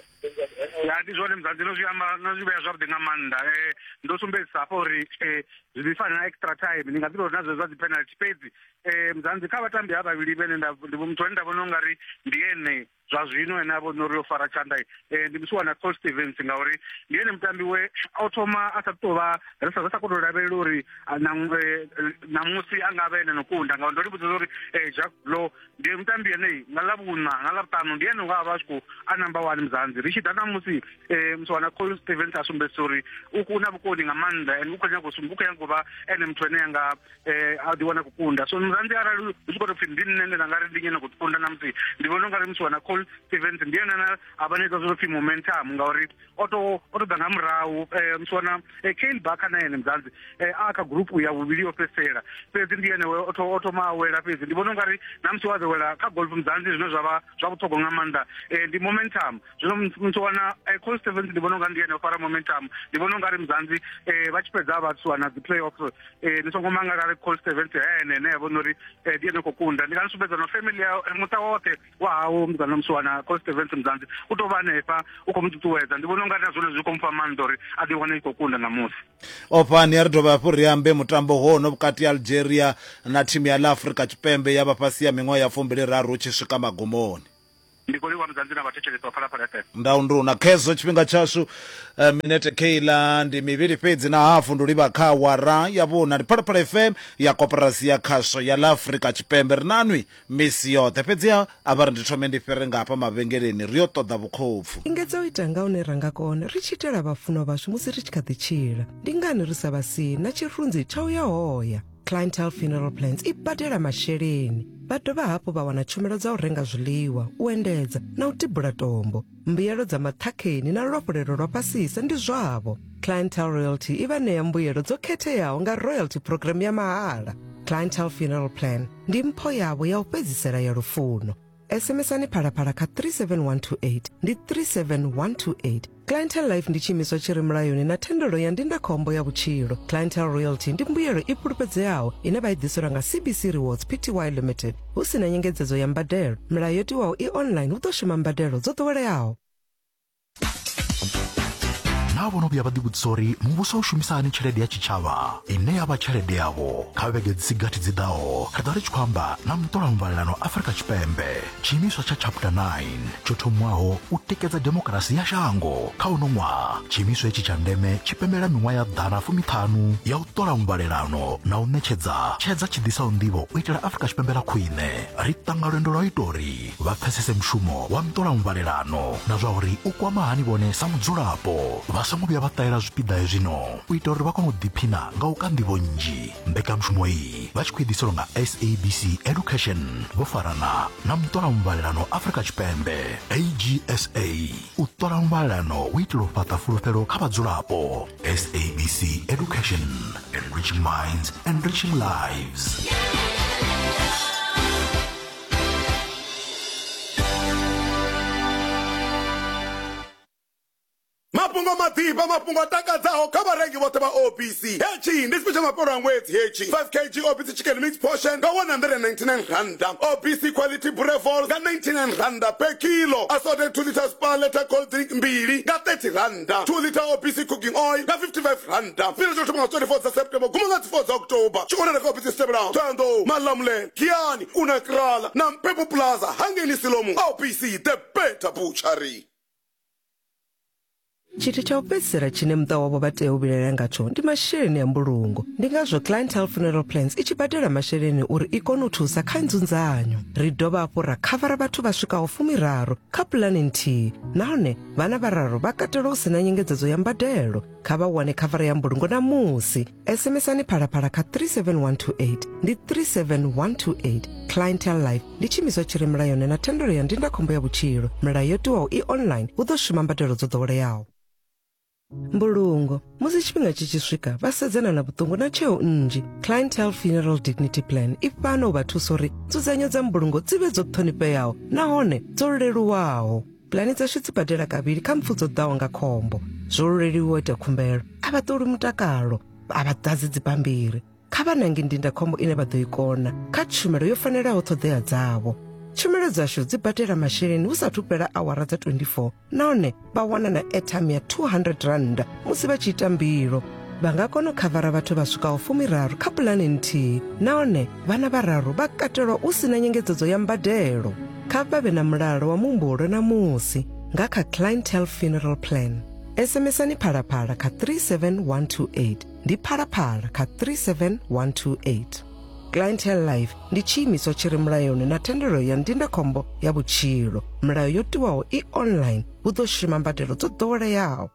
Ya ndi zwone Mzansi, no zwi amba no zwi vhea zwavhuḓi nga maanḓa. Eh ndo sumbedzisa hafha uri eh zwi ḓi fana na extra time, ndi nga ḓi tou na zwezwa dzi penalty. Fhedzi eh Mzansi kha vhatambi ha vhavhili vhene nda ndi muthu ane nda vhona ungari ndi ene zwa zwino ene a vhona uri o fara tshanḓa eh ndi musiwana Cole Stevens, ngauri ndi ene mutambi we o thoma a sa tou vha ri sa sa khou tou lavhelela uri ṋamusi a nga vha ene no kunda, ngauri ndo ri vhudza uri Jacques Blow ndi mutambi ene nga ḽa vhuṋa nga ḽa vhuṱanu ndi ene nga vha a tshi khou a number one Mzansi. Ri tshi ḓa ṋamusi eh musiwana Cole Stevens a sumbedzisa uri u na vhukoni nga maanḓa ende u khou nyanga u u khou nyanga u vha ene muthu ane anga eh a ḓi wana kukunda. So Mzansi arali hu tshi khou tou pfhi ndi nṋe nda nga ri ndi nyana kukunda ṋamusi, ndi vhona ungari musiwana Cole Cole Stevens ndi ene ane a vha na zwo pfi momentum ngauri o to o to ḓa nga murahu. Muswana Kale Barker na ene Mzansi a kha group ya vhuvhili yo fhedzisela, fhedzi ndi ene o to o thoma a wela. Fhedzi ndi vhona ungari na musi wa ḓo wela kha golf Mzansi, zwine zwa vha zwa vhuṱhogwa nga maanḓa ndi momentum. Zwino muswana Cole Stevens ndi vhona ungari ndi ene o fara momentum. Ndi vhona ungari Mzansi vha tshi fhedza vha ṱuwa na dzi playoffs, ni songo mangala ri Cole Stevens ene ene vhona uri ndi ene khou kunda. Ndi nga sumbedza no family ya muṱa woṱhe wa hawo muzana muswana Cole Stevens Mzansi u to vha hanefha u khou mu ṱuṱuwedza. Ndi vhona ungari na zwone zwi khou mufha maanḓa uri a ḓi wane i khou kunda ṋamusi. Ofhani a ri dovha hafhu ri ambe mutambo hono vhukati ha Algeria na thimu ya ḽa Afrika Tshipembe ya vha fhasi ya miṅwaha ya fumbili raru tshi swika magumoni. Ndi khou livhuwa Mzansi na vhathetshelesi vha Phalaphala F M. Ndaunduna khezwo tshifhinga tshashu minete keila ndi mivhili fhedzi na hafu ndi livha kha awara ya vhuna. Ndi Phalaphala F M ya koporasi ya khasho ya ḽa Afrika Tshipembe. Ri nanwi misi yoṱhe, fhedziha a vha ri ndi thome ndi fhire nga hafha mavhengeleni ri yo ṱoḓa vhukhopfu. Lingedza u ita nga hune ra nga kona ri tshi itela vhafunwa vhashu musi ri tshi kha ḓi tshila. Ndi ngani ri sa vha sii na tshirunzi tsha u ya hoya? Clientele Funeral Plans i badela masheleni. Vha dovha hafhu vha wana tshumelo dza u renga zwiḽiwa, u endedza na u tibula tombo. Mbuyelo dza maṱhakheni na luafhulelo lwa fhasisa ndi zwavho. Clientele Royalty i vha ṋea mbuyelo dzo khetheaho nga royalty program ya mahala. Clientele Funeral Plan ndi mpho yavho ya u fhedzisela ya lufuno. S M S ani Phalaphala kha three seven one two eight ndi three seven one two eight. Clientele Life ndi tshiimiswa tshi re mulayoni na thendelo ya ndindakhombo ya vhutshilo. Clientele Royalty ndi mbuyelo i fhulufhedzeaho ine vha i ḓiselwa nga C B C Rewards P T Y Limited hu si na nyengedzedzo ya mbadelo. Milayo yo tiwaho i online, hu ḓo shuma mbadelo dzo ḓoweleaho. Na vhono vhuya vha ḓivhudzisa uri muvhuso u shumisa hani tshelede ya tshitshavha ine ya vha tshelede yavho. Kha vhege dzi gathi dzi ḓaho ri ḓo ri tshi khou amba na muṱolamvalelano Afrika Tshipembe, tshiimiswa tsha Chapter nine tsho thomiwaho u tikedza demokirasi ya shango. Kha uno ṅwaha tshiimiswa hetshi tsha ndeme tshi pembela miṅwaha ya ḓana fumiṱhanu ya u ṱola mvalelano na u ṋetshedza tshedza tshi ḓisaho nḓivho u itela Afrika Tshipembe ḽa khwine. Ri tanga lwendo lwa ita uri vha pfesese mushumo wa muṱolamvalelano na zwa uri u kwama hani vhone sa mudzulapo. Vha songo vhuya vha ṱahela zwipiḓa hezwino u itela uri vha kone u ḓiphina nga u ka nḓivho nnzhi. Mbekanyamushumo iyi vha tshi khou i ḓiselwa nga S A B C Education vho farana na muṱolamvalelano Afrika Tshipembe A G S A. U ṱola mvalelano u itela u fhaṱa fulufhelo kha vhadzulapo. S A B C Education, enriching minds, enriching lives. Mafhungo maḓifha, mafhungo a takadzaho kha vharengi vhoṱhe vha O B C. Hetshi ndi tshifhinga tsha mafhelo a ṅwedzi hetshi. five kilograms O B C chicken mix portion nga one hundred and ninety-nine randa. O B C quality brevol nga ninety-nine randa per kilo. Assorted two liters per liter cold drink mbili nga thirty randa. two liter O B C cooking oil nga fifty-five randa. Fhira tsho thoma nga twenty-fourth dza September guma nga fourth dza October. Tshi konela kha O B C Stebela, Thohoyandou, Malamulele, Giyani, Unakrala na Mpepo Plaza hangeni Silomu. O B C, the better butchery. Tshithu tsha u fhedzisela tshine muṱa wavho vha tea u vhilaela ngatsho ndi masheleni a mbulungo. Ndi ngazwo Clientele Funeral Plans i tshi badela masheleni uri i kone u thusa kha nzunzanyo. Ri dovha hafhu ra khavara vhathu vha swikaho fumiraru kha pulani nthihi, nahone vhana vhararu vha katelwa hu si na nyengedzedzo ya mbadelo. Kha vha wane khavara ya mbulungo namusi. S M S ani Phalaphala kha three seven one two eight ndi three seven one two eight. Clientele Life ndi tshiimiswa tshi re mulayoni na thendelo ya ndindakhombo ya vhutshilo. Milayo yo tiwaho i online, hu ḓo shuma mbadelo dzo ḓoweleaho. Mbulungo musi tshifhinga tshi tshi swika vha sedzana na vhuṱungu na tsheo nnzhi. Clientele Funeral Dignity Plan i fhano u vha thusa uri nzudzanyo dza mbulungo dzi vhe dzo ṱhonifheaho nahone dzo leluwaho. Pulani dzashu dzi badela kavhili kha mpfu dzo ḓaho nga khombo. Zwo leluwa u ita khumbelo, a vha ṱoli mutakalo, a vha ḓadzi dzibammbiri. Kha vha nange ndindakhombo ine vha ḓo i kona kha tshumelo yo fanelaho ṱhoḓea dzavho. Tshumelo dzashu dzi badela masheleni hu sathu fhela awara dza twenty-four nahone vha wana na airtime ya two hundred rand musi vha tshi ita mbilo. Vha nga kona u khavara vhathu vha swikaho fumiraru kha pulani nthihi nahone vhana vhararu vha katelwa u sina nyengedzedzo ya mbadelo. Kha vha vhe na mulalo wa muhumbulo na musi nga kha Clientele Funeral Plan. S M S ani Phalaphala kha three seven one two eight ndi Phalaphala kha three seven one two eight. Clientele Life ndi tshiimiswa tshi re mulayoni na thendelo ya ndindakhombo ya vhutshilo. Milayo yo tiwaho i online, hu ḓo shuma mbadelo dzo ḓoweleaho.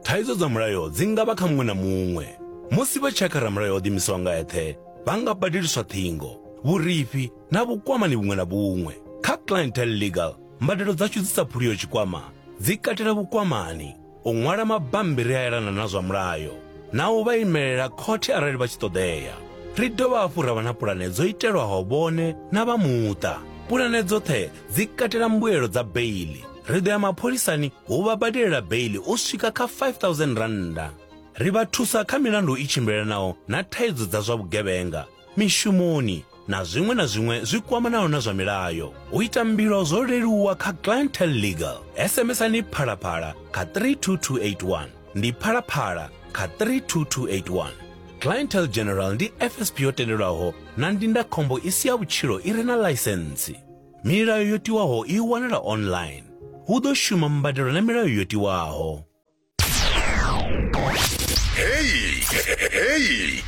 Thaidzo dza mulayo dzi nga vha kha muṅwe na muṅwe. Musi vha tshi ya kha ramulayo o ḓiimisaho nga eṱhe, vha nga badeliswa ṱhingo, vhurifhi na vhukwamani vhuṅwe na vhuṅwe. Kha Clientele Legal, mbadelo dzashu dzi sa phuliho tshikwama dzi katela vhukwamani, u ṅwala mabambiri a elana na zwa mulayo, na u vha imelela khothe arali vha tshi ṱoḓea. Ri dovha hafhu ra vha na pulane dzo itelwaho vhone na vha muṱa. Pulane dzoṱhe dzi katela mbuelo dza beili. Ri ḓo ya mapholisani hu vha badelela beili u swika kha five thousand rannda. Ri vha thusa kha milandu i tshimbilelanaho na thaidzo dza zwa vhugevhenga, mishumoni na zwiṅwe na zwiṅwe zwi kwamanaho na zwa milayo. U ita mbilo zwo leluwa kha Clientele Legal. S M S-ani Phalaphala kha three two two eight one. Ndi Phalaphala kha three two two eight one. Clientele General ndi F S P yo tendelwaho na ndindakhombo i si ya vhutshilo i re na ḽaisentsi. Milayo yo tiwaho i wanala online. Hu ḓo shuma mbadelo na milayo yo tiwaho. Hey, hey,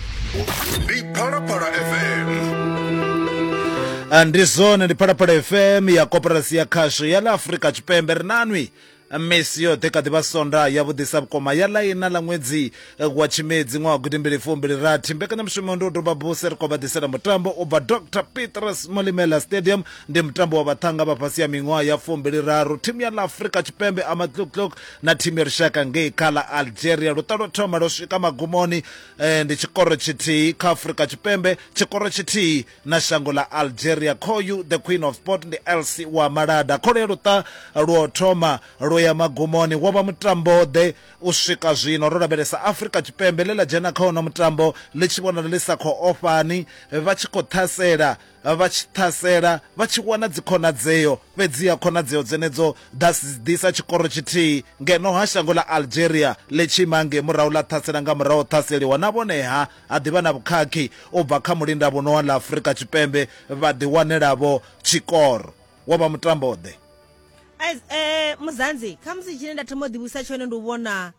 ndi Phalaphala F M. Ndi zwone, ndi Phalaphala F M ya Koporasi ya Khasho ya ḽa Afrika Tshipembe. Ri nanwi misi yoṱhe kha ḓivha sonda ya vhuḓisa vhukoma ya ḽa ina ḽa ṅwedzi wa Tshimedzi ṅwaha gidimbili fumbili rathi. Mbekanyamushumo ndi u doba buse, ri khou vha ḓisela mutambo u bva Doctor Petrus Molemela Stadium. Ndi mutambo wa vhaṱhanga vha fhasi ya miṅwaha ya fumbili raru, thimu ya ḽa Afrika Tshipembe Amatluktluk na thimu ya lushaka ngei kha ḽa Algeria. Luṱa lwo thoma lwo swika magumoni, eh, ndi tshikoro tshithihi kha Afrika Tshipembe, tshikoro tshithihi na shango ḽa Algeria. Khoyu the Queen of Sport ndi L C wa Malada. Kholo ya luṱa lwo thoma lwo ya magumoni, wo vha mutambo ḓe u swika zwino. Ro lavhelesa Afrika Tshipembe ḽe ḽa dzhena kha ono mutambo ḽi tshi vhonala ḽi sa khou ofhani, vha tshi khou ṱhasela, vha tshi ṱhasela vha tshi wana dzikhonadzeo, fhedziha khonadzeo dzenedzo ḓa ḓisa tshikoro tshithihi ngeno ha shango ḽa Algeria ḽi tshi ima ngei murahu ḽa ṱhasela nga murahu ṱhaseliwa na vhoneha ha ḓivha na vhukhakhi u bva kha mulindavhuno wa ḽa Afrika Tshipembe, vha ḓiwanelavho tshikoro. Wo vha mutambo ḓe. Eh, Muzanzi, khamusi tshine nda thoma u ḓivhusa tshone ndi u vhona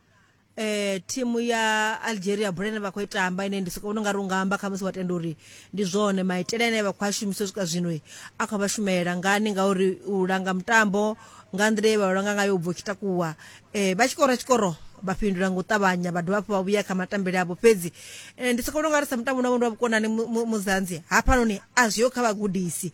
eh thimu ya Algeria bola ine vha khou i tamba, ine ndi soko vhona ungari unga amba khamusi wa tenda uri ndi zwone maitele ane vha khou a shumisa u swika zwino a khou vha shumela ngani, ngauri u langa mutambo nga nḓila ye vha langa ngayo u bva u tshi takuwa, eh vha tshi kora tshikoro vha fhindula nga u ṱavhanya, vha dovha hafhu vha vhuya kha matambele avho. Fhedzi ndi soko vhona ungari sa mutambo navho ndi wa vhukonani Muzanzi, hafhanoni a zwiho kha vhagudisi,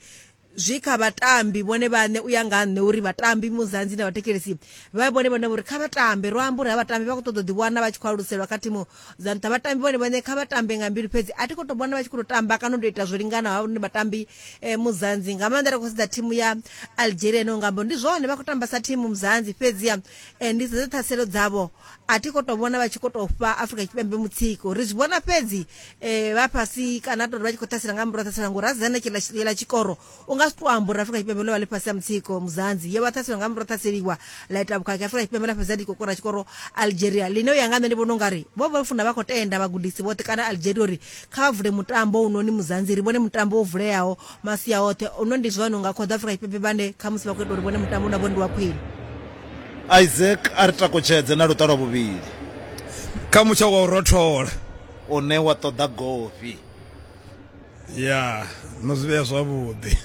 zwi kha vhatambi vhone vhaṋe u ya nga nṋe uri vhatambi Muzanzi na vhathetshelesi vha vhone vhone uri kha vhatambe. Ro amba uri ha vhatambi vha khou ṱoḓa ḓi wana vha tshi khou aluselwa kha thimu dza nṱha, vhatambi vhone vhaṋe kha vhatambe nga mbilu, fhedzi a thi khou tou vhona vha tshi khou tou tamba kana u tou ita zwo linganaho hone vhatambi eh, Muzanzi. Nga maanḓa ri khou sedza thimu ya Algeria no nga amba ndi zwone vha khou tamba sa thimu Muzanzi, fhedzi eh, ndi sedza ṱhaselo dzavho a thi khou tou vhona vha tshi khou tou fha Afrika Tshipembe mutsiko. Ri zwi vhona fhedzi eh, vha fhasi kana tou vha tshi khou ṱhasela nga murahu ṱhasela ngori ra sedza na tshikoro unga zwi to amba uri Afrika Tshipembe ḽo vha ḽi fhasi ha mutsiko Muzanzi, yo vha ṱhaselwa nga murahu ṱhaseliwa ḽa ita vhukhakhi. Afrika Tshipembe ḽa fhedza ḽi khou kora tshikoro Algeria ḽine u ya nga nṋe ndi vhona ungari vho vha funa vha khou tenda vhagudisi vhoṱhe kana Algeria uri kha vha vule mutambo unoni Muzanzi, ri vhone mutambo wo vuleaho masia oṱhe. Uno ndi zwone unga khoḓa Afrika Tshipembe vhane khamusi vha khou ita uri vhone mutambo una vhone ndi wa khwine. Isaac a ri takutshedze na luṱa lwa vhuvhili kha mutsho wa u rothola une wa ṱoḓa gofi. Ya no zwi vhea zwavhuḓi.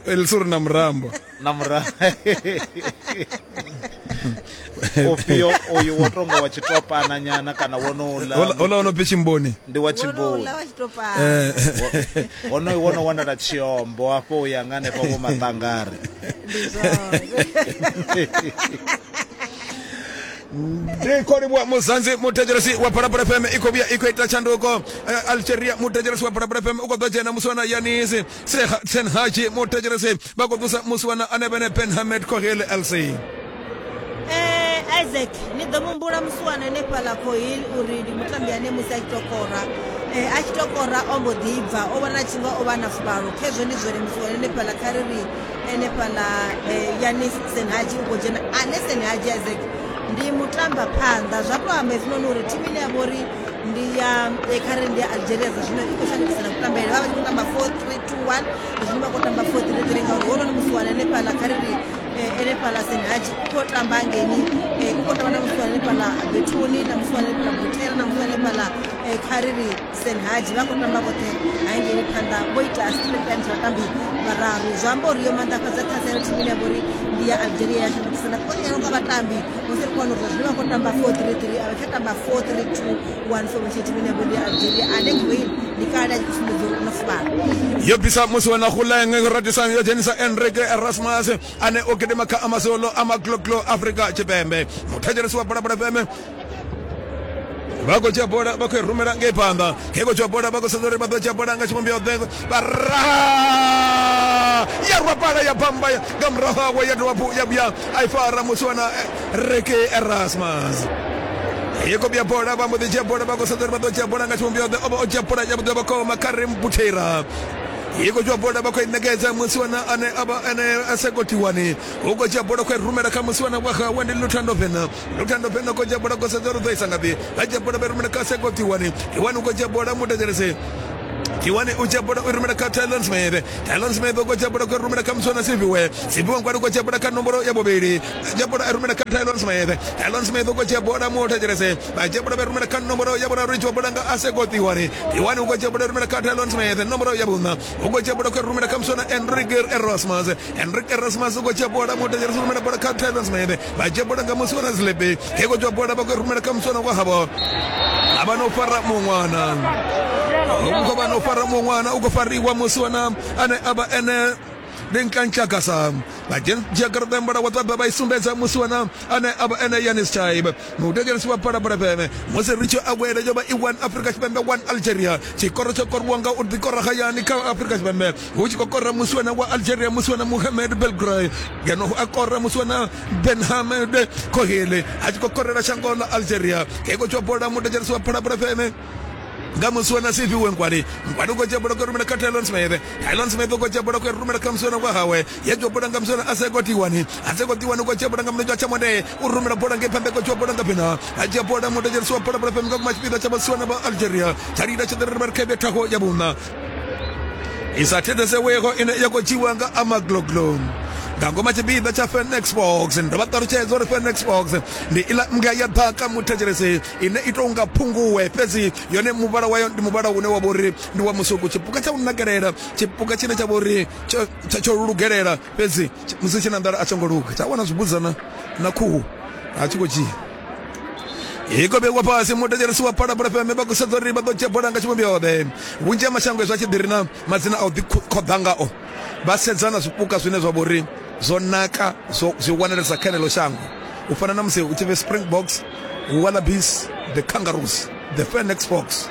Elisuri na murambo na murambo ofio oyu wo tonga wa tshitopana nyana kana wonoula ola ono pfi Tshimboni, ndi wa Tshimboni wonoyu wono wanala Tshiombo afho u ya nga hanefha vho Maṱangari. Ndi khou livhuwa Muzanzi muthetshelesi wa Phalaphala F M i khou vhuya i khou ita tshanduko. Algeria muthetshelesi wa Phalaphala F M u khou ḓo dzhena musiwana Yanis Senhaji muthetshelesi, vha khou ḓusa musiwana Anebene Ben Hamed Kohil L C. Eh, Isaac ni ḓo mumbula musiwana hanefhaḽa Kohil uri ndi mutambi ane musi a tshi tou kora eh, a tshi tou kora o mbo ḓi bva, o vhona tshi nga o vha na fuvhalo. Khezwo ndi zwone musiwana hanefhaḽa kha ri ri hanefhaḽa Yanis Senhaji u khou dzhena ane Senhaji Isaac ndi mutamba phanḓa. Zwa to amba hezwinoni uri thimu ine ya vha uri ndi ya kha ri ndi ya Algeria dza zwino i khou shandukisa na kutambele, vha vha tshi khou tamba four three two one zwino vha khou tamba four three three ngauri hononi musiwana hanefhaḽa kha ri ri hanefhaḽa Senhaji u khou tamba ngeni, u khou tamba na musiwana hanefhaḽa Bethuni na musiwana hanefhaḽa Butera na musiwana hanefhaḽa kha ri ri Senhaji, vha khou tamba vhoṱhe hangei phanḓa vho ita straight line vhatambi vhararu. Zwi amba uri yo maanḓafhadza ṱhaselo thimu ine ya vha uri ndi ya Algeria ya shandukisa na konyelo kwa vhatambi musi ri khou wana uri zwino vha khou tamba four three three a vha tsha tamba four three two one formation. Thimu ine ya vha uri ndi ya Algeria ane Kohil Ndi kale a tshi sumbedza uri u na fuvhalo. Yo bvisa musi wa na Guleng radisa yo dzhenisa Enrique Erasmus ane o gidima kha Amazolo Amagloglo Afrika Tshipembe. Muthetshelesi wa Phalaphala F M vha khou dzhia bola vha khou i rumela ngei phanḓa. Khe khou dzhia bola vha khou sedza uri vha ḓo dzhia bola nga tshivhumbeo ḓe vha raha ya rwa pala ya bamba nga murahu hawe ya dovha hafhu ya vhuya a i fara musi wa na Enrique Erasmus. Ye ko bia bola vha mbo ḓi dzhia bola vha khou sedza uri vha ḓo dzhia bola nga tshivhumbeo ḓe o vha o dzhia bola ya vhuḓi vha khou Karim Butera. Ye ko dzhia bola vha khou i ṋekedza musiwana ane a vha ane a Sekotiwani. U khou dzhia bola khou i rumela kha musiwana wa hawe ndi Luthando Vena. Luthando Vena khou dzhia bola khou sedza uri u ḓo isa ngafhi. Vha dzhia bola vha rumela kha Sekotiwani. Tiwani u khou dzhia bola muthetshelesi. Tiwani u dzhia bola u rumela kha Tylon Smith. Tylon Smith u khou dzhia bola u rumela kha Muswana Siviwe. Siviwe Nkwali u khou dzhia bola kha nomboro ya vhuvhili. Dzhia bola a rumela kha Tylon Smith. Tylon Smith u khou dzhia bola muthetshelesi. Vha dzhia bola vha rumela kha nomboro ya vhuraru i dzhia bola nga Aseko Tiwani. Tiwani u khou dzhia bola rumela kha Tylon Smith nomboro ya vhuṋa. U khou dzhia bola u rumela kha Muswana Enrique Erasmus. Enrique Erasmus u khou dzhia bola muthetshelesi rumela bola kha Tylon Smith. Vha dzhia bola nga Muswana Zlepe. He khou dzhia bola vha khou rumela kha Muswana wa havho. A vha no fara muṅwana. U khou vha no fara muṅwana u khou fariwa musiwana ane a vha ene ndi Nkantlakasa. Vha dzhia garaṱa ya muvhala wa ṱaḓa vha i sumbedza musiwana ane a vha ene Yanis Chaib. Muthetshelesi wa Phalaphala F M musi ri tshi awela yo vha i one Afrika Tshipembe one Algeria. Tshikoro tsho koriwa nga u ḓikora hayani kha Afrika Tshipembe hu tshi khou kora musiwana wa Algeria musiwana Mohamed Belgray, ngeno a kora musiwana Benhamed Kohele a tshi khou korela shango ḽa Algeria. He khou dzhia bola muthetshelesi wa Phalaphala F M nga musiwana Siviwe Nkwali. Nkwali u khou dzhia bola khou rumela kha Tylon Smith. Tylon Smith u khou dzhia bola khou rumela kha musiwana wa hawe. Ya dzhia bola nga musiwana Aseko Tiwani. Aseko Tiwani u khou dzhia bola nga mulenzhe wa tshamonde u rumela bola ngei phanḓa khou dzhia bola nga phina. A dzhia bola muthetshelesi wa Phalaphala F M nga kuma tshipiḓa tsha vhasiwana vha Algeria. Tsha lila tsha ḓirere vha ri kha thaho ya vhuṋa. I sa thetshelesewego ine ya khou dzhiwa nga Amagloglo. Nga ngoma tshipiḓa tsha Fenex Box. Ndo vha ṱalutshedza uri Fenex Box ndi iḽa mbwa ya ḓaka muthetshelesi ine i tou nga phunguwe, fhedzi yone muvhala wayo ndi muvhala une wa vha uri ndi wa musuku. Tshipuka tsha u nakelela, tshipuka tshine tsha vha uri tsho tsho lugelela, fhedzi musi tshi na nḓala a tsho ngo luga. Tsha wana zwibudzana na khuhu a tshi khou dzhia. Iko vhewa fhasi muthetshelesi wa Phalaphala F M vha khou sedza uri vha ḓo dzhia bola nga tshivhumbeo ḓe. Vhunzhi ha mashango hezwi a tshi ḓi ri na madzina a u ḓikhoḓa ngao vha sedza na zwipuka zwine zwa vha uri zwo naka zwo zwi wanalesa kha ḽeneḽo shango. U fana na musi hu tshi pfi Springboks, Wallabies, the Kangaroos, the Fennecs Fox.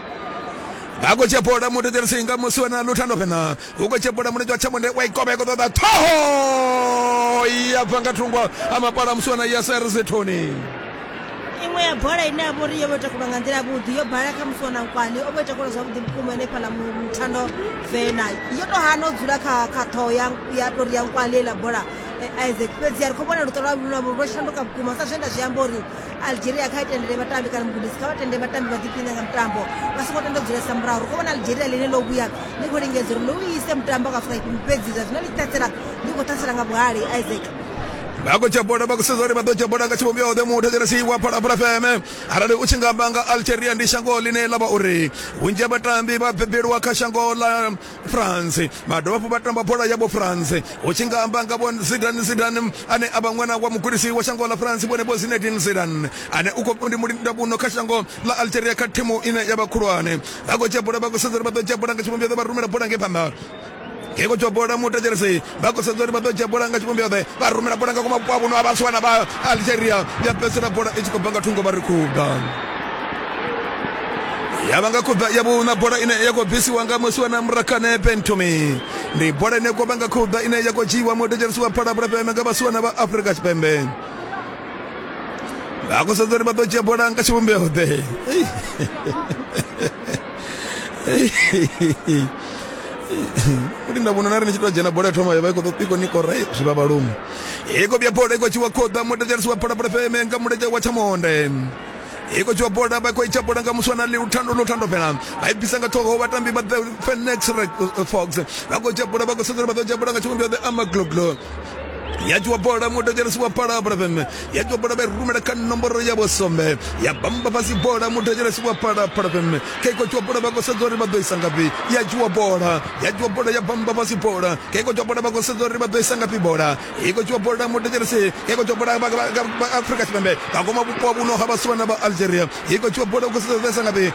Vha khou dzhia bola muthetshelesi nga musi wa Luthando Vena. U khou dzhia bola mulenzhe wa tshamonde wa i kovha ṱoḓa ṱhoho ya bva nga thungo a mapala musi wa Yasser Zithoni. Iṅwe ya bola ine ya vha uri yo vha takulwa nga nḓila yavhuḓi yo bala kha Muswana Nkwali o vha i takula zwavhuḓi vhukuma hanefhaḽa Muthando Vena. Yo to hana u dzula kha kha ṱhoho ya ya tori ya Nkwali heiḽa bola Isaac. Fhedzi ri khou vhona luṱo lwa lwa lwo shanduka vhukuma sa zwe nda zwi amba uri Algeria kha i tendele vhatambi kana mugudisi kha vha tendele vhatambi vha ḓiphine nga mutambo vha songo tenda u dzulesa murahu. Ri khou vhona Algeria ḽine ḽo vhuya ḽi khou lingedza uri ḽi u ise mutambo kha Afrika Tshipembe, fhedzi zwa zwino ḽi ṱhasela ḽi khou ṱhasela nga vhuhali Isaac. Vha khou dzhia bola vha khou sedza uri vha ḓo dzhia bola nga tshivhumbeo ḓe muthetshelesi wa Phalaphala F M. Arali u tshi nga amba nga Algeria ndi shango ḽine ḽa vha uri vhunzhi ha vhatambi vha bebelwa kha shango ḽa France, vha dovha hafhu vha tamba bola ya vho France. U tshi nga amba nga vho Zidane Zidane ane a vha ṅwana wa mugudisi wa shango ḽa France vhone vho Zinedine Zidane ane u khou ndi mulindavhuno kha shango ḽa Algeria kha thimu ine ya vha khulwane. Vha khou dzhia bola vha khou sedza uri vha ḓo dzhia bola nga tshivhumbeo ḓe vha rumela bola ngei phanḓa. Ke khou dzhia bola muthetshelesi vha khou sedza uri vha ḓo dzhia bola nga tshivhumbeo ḓe vha rumela bola nga kuma vhuno ha vhasiwana vha Algeria ya fhedzisela bola i tshi khou bva nga thungo vha ri khuda. Ya vha nga khuda ya vhuṋa bola ine ya khou bvisiwa nga musiwana Murakane Bentomi. Ndi bola ine ya khou vha nga khuda ine ya khou dzhiiwa muthetshelesi wa Phalaphala F M nga vhasiwana vha Afrika Tshipembe. Vha khou sedza uri vha ḓo dzhia bola nga tshivhumbeo ḓe. Kuti ndavhona na ri ni tshi tou dzhena bola ya thoma ya vha i khou ḓo i ni kora zwi vha vhalume. I khou vhuya bola i khou tshiwa khoḓa muthetshelesi wa Phalaphala F M nga mulenzhe wa tshamonde. I khou tshiwa bola vha khou i tsha bola nga muswana Luthando Luthando Vena. Vha i bvisa nga ṱhoho vhatambi vha the Fennecs Fox. Vha khou dzhia bola vha khou sedza uri vha ḓo dzhia bola nga tshivhumbeo ḓe Amagloglo. Ya dzhiwa bola muthetshelesi wa Phalaphala F M. Ya dzhiwa bola vha i rumela kha nomboro ya vhusumbe. Ya bamba fhasi bola muthetshelesi wa Phalaphala F M. Kha i khou dzhiwa bola vha khou sedza uri vha ḓo isa ngafhi. Ya dzhiwa bola, ya dzhiwa bola ya bamba fhasi bola. Kha i khou dzhiwa bola vha khou sedza uri vha ḓo isa ngafhi bola. I khou dzhiwa bola muthetshelesi. Kha i khou dzhiwa bola vha Afrika Tshipembe. Nga ngoma vhupo vhuno ha vhasiwana vha Algeria. I khou dzhiwa bola u khou sedza uri vha isa ngafhi.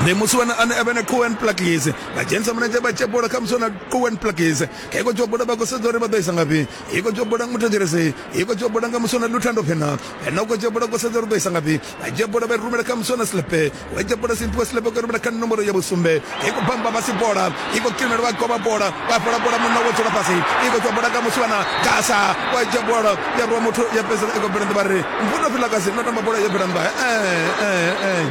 Ndi musiwana ane avha na Cohen Plakis vha dzhenisa mulenzhe vha dzhia bola kha musiwana Cohen Plakis. Kha iko dzhia bola vha khou sedza uri vha ḓo isa ngafhi. Iko dzhia bola muthetshelesi, iko dzhia bola nga musiwana Luthando Phena. Phena u khou dzhia bola khou sedza uri ḓo isa ngafhi. Vha dzhia bola vha rumela kha musiwana Slepe. Wa dzhia bola Simphiwe Slepe khou rumela kha nomboro ya vhusumbe. Iko bamba fhasi bola, iko kilimela vha goba bola, vha fhola bola munna wo dzula fhasi. Iko dzhia bola nga musiwana Gasa, wa dzhia bola ya rwa muthu ya fhedzisela iko bela nnḓa vha ri Mfundo Vilakazi no tamba bola ya bela nnḓa. Eh eh eh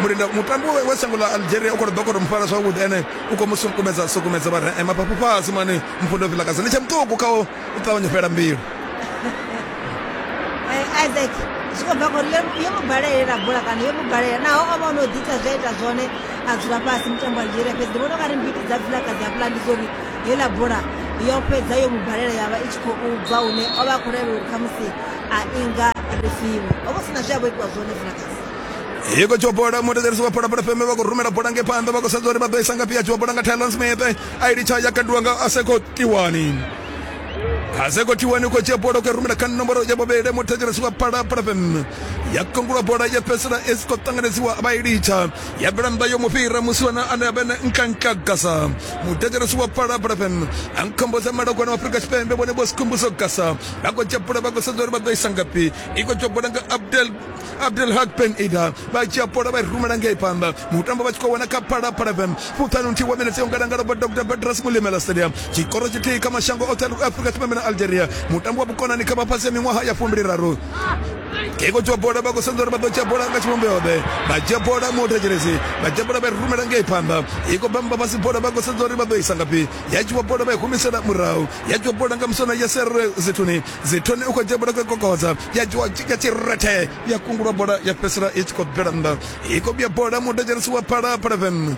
Murinda mutambi wa shango ḽa Algeria u khou ḓo khou mufara zwavhuḓi, ene u khou mu sukumedza sukumedza vha ri mafhafhu fhasi mani Mfundo Vilakazi ndi tsha muṱuku kha u ṱavhanya fhela mbilu. Isaac zwi khou bva khori yo mu balelela bola kana yo mu balela naho o vha o no ḓi ita zwe a ita zwone a dzula fhasi mutambo wa Algeria, fhedzi ndi vhona ungari mbiti dza Vilakazi hafhaḽa ndi zwa uri heiḽa bola yo fhedza yo mu balela ya vha i tshi khou bva hune o vha a khou lavhelela uri khamusi a inga refiwe, o vha sina zwe a vho itiwa zwone Vilakazi. Iko dzhia bola muthetshelesi wa Phalaphala F M vha khou rumela bola ngei phanḓa vha khou sedza uri vha ḓo isa ngafhi. Ya dzhiwa bola nga Tylon Smith a i litsha ya kandiwa nga Aseko Tiwani. Aseko Tiwani u khou dzhia bola u khou rumela kha nomboro ya vhuvhili muthetshelesi wa Phalaphala F M. Ya kungulwa bola ya fhedzisela i si khou ṱanganedziwa vha i litsha ya bvela nnḓa yo mu fhira musiwana ane a vha na Nkanka Gasa. Muthetshelesi wa Phalaphala F M a nkhomboza malogwana wa Afrika Tshipembe vhone vho Sikhumbuzo Gasa vha khou dzhia bola vha khou sedza uri vha ḓo isa ngafhi. I khou dzhia bola nga Abdel Abdel Haq Ben Ida vha dzhia bola vha i rumela ngei phanḓa. Mutambo vha tshi khou wana kha Phalaphala F M fuṱhanu nthihi wa minetse yo ngalangala vha Doctor Bedras Mulimela Stadium. Tshikoro tshithihi kha mashango oṱhe a Afrika Tshipembe na Algeria. Mutambo wa vhukonani kha vha fhasi ya miṅwaha ya fumbili raru. Iko dzhia bola vha khou sedza uri vha ḓo dzhia bola nga tshivhumbeo ḓe. Vha dzhia bola muthetshelesi, vha dzhia bola vha i rumela ngei phanḓa. Iko bamba fhasi bola vha khou sedza uri vha ḓo isa ngafhi. Ya dzhiwa bola vha i humisela murahu. Ya dzhiwa bola nga musona ya Serre Zithuni. Zithuni u khou dzhia bola khou kokodza. Ya dzhiwa ya tshirethe ya kungulwa bola ya fhedzisela i tshi khou bvela nnḓa. Iko vhuya bola muthetshelesi wa Phalaphala F M.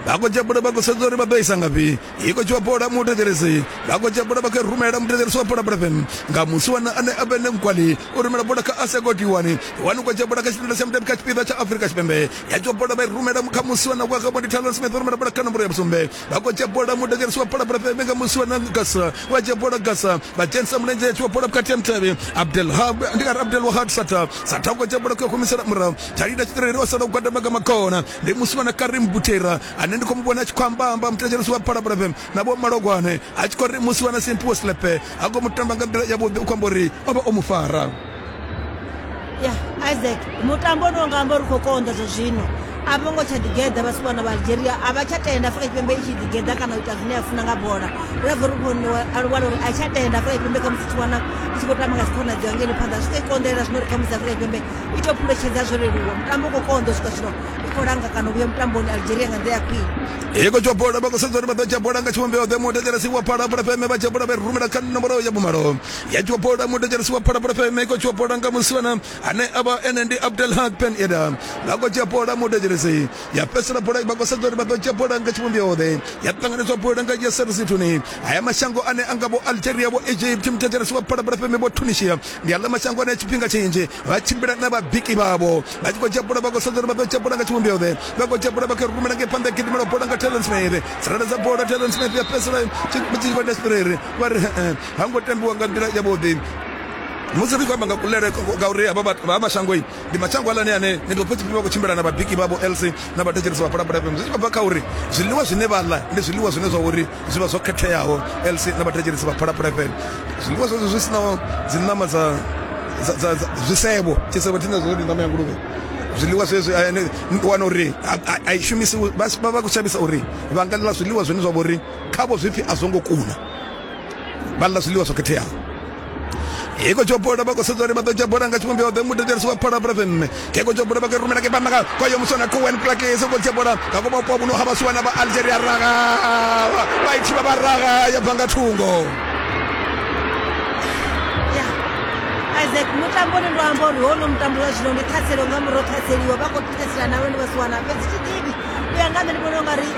Vha khou dzhia bola vha khou sedza uri vha ḓo isa ngafhi. Iko dzhiwa bola muthetshelesi, vha khou dzhia bola vha khou rumela muthetshelesi wa Phalaphala F M nga musiwana ane a vha Nkwali u rumela bola kha Aseko Tiwani. Tiwani u khou dzhia bola kha tshipinda tsha mutambi kha tshipiḓa tsha Afrika Tshipembe. Ya dzhiwa bola vha i rumela kha musiwana wa Gabon Talon Smith u rumela bola kha nomboro ya vhusumbe. Vha khou dzhia bola muthetshelesi wa Phalaphala F M nga musiwana Gasa wa dzhia bola Gasa vha dzhenisa mulenzhe ya dzhiwa bola vhukati ha mutevhe Abdel Hab ndi nga Abdel Wahab Sata. Sata u khou dzhia bola khou humisela murahu. Thalida Tshitireli o sala u gwadama nga makona ndi musiwana Karim Butera ane ndi khou mu vhona a tshi khou amba amba muthetshelesi wa Phalaphala F M na vho Malogwane a tshi khou ri musiwana Simphiwe Slepe a khou mu tamba nga nḓila yavhuḓi u khou amba uri o vha o mu fara. Ya Isaac mutambo no nga amba uri khou konḓa zwa zwino a vho ngo tsha ḓigeḓa vhasiwana vha Algeria a vha tsha tenda Afrika Tshipembe i tshi ḓigeḓa kana u ita zwine ya funa nga bola. Ri bva ri khou wana uri a tsha tenda Afrika Tshipembe khamusi tshi wana i tshi khou tamba nga dzikhonadzeo ngeno phanḓa zwi khou i konḓelela zwino uri khamusi Afrika Tshipembe i tou phuletshedza zwo leluwa. Mutambo u khou konḓa u swika zwino i khou langa kana u vhuya mutamboni Algeria nga nḓila ya khwine. Iko dzhia bola vha khou sedza uri vha ḓo dzhia bola nga tshivhumbeo ḓe. Muthetshelesi wa Phalaphala F M vha dzhia bola vha i rumela kha nomboro ya vhumalo. Ya dzhiwa bola muthetshelesi wa Phalaphala F M iko dzhiwa bola nga musiwana ane a vha ene ndi Abdel Haq Ben Ida. Vha khou dzhia bola muthetshelesi ya fhedzisela bola vha khou sedza uri vha ḓo dzhia bola nga tshivhumbeo ḓe. Ya ṱanganedzwa bola nga Yasser Zithuni. Haya mashango ane a nga vho Algeria vho Egypt muthetshelesi wa Phalaphala F M vho Tunisia ndi aḽa mashango ane tshifhinga tshinzhi vha tshimbila na vhabiki vhavho vha tshi khou dzhia bola vha khou sedza uri vha ḓo dzhia bola nga tshivhumbeo ḓe. Vha khou dzhia bola vha khou rumela ngei phanḓa gidimela bola nga Talon Smith. Tsireledza bola Talon Smith ya fhedzisela tshigwada Tshitireli vha ri ha ngo tambiwa nga nḓila yavhuḓi. Musi ri khou amba nga kulele ngauri havha vha mashango ndi mashango alane ane ni ḓo pfha tshifhinga vha khou tshimbila na vhabiki vhavho L C na vhathetshelesi vha Phalaphala F M. Zwi tshi khou bva kha uri zwiḽiwa zwine vha ḽa ndi zwiḽiwa zwine zwa uri zwi vha zwo khetheaho L C na vhathetshelesi vha Phalaphala F M. Zwiḽiwa zwezwo zwi sinaho dzi ṋama dza dza zwisevho tshisevho thina zwo ndi ṋama ya nguluvhe. Zwiḽiwa zwezwi wana uri a i shumisi vha vha khou shavhisa uri vha nga ḽa zwiḽiwa zwine zwa vha uri khavho zwipfi a zwo ngo kuna, vha ḽa zwiḽiwa zwo khetheaho. Iko dzhia bola vha khou sedza uri vha ḓo dzhia bola nga tshivhumbeo ḓe. Muthetshelesi wa Phalaphala F M iko dzhia bola vha khou rumela ke phanḓa kwa yo muswana Cohen Plakis u khou dzhia bola nga vho vhupo vhuno ha vhasiwana vha Algeria raga vha i thivha vha raga ya bva nga thungo. Isaac mutamboni ndo amba uri hono mutambo wa zwino ndi ṱhaselo nga murahu ṱhaseliwa vha khou ṱhasela na vhone vhasiwana fhedzi thi ḓivhi u ya nga nṋe ndi vhona ungari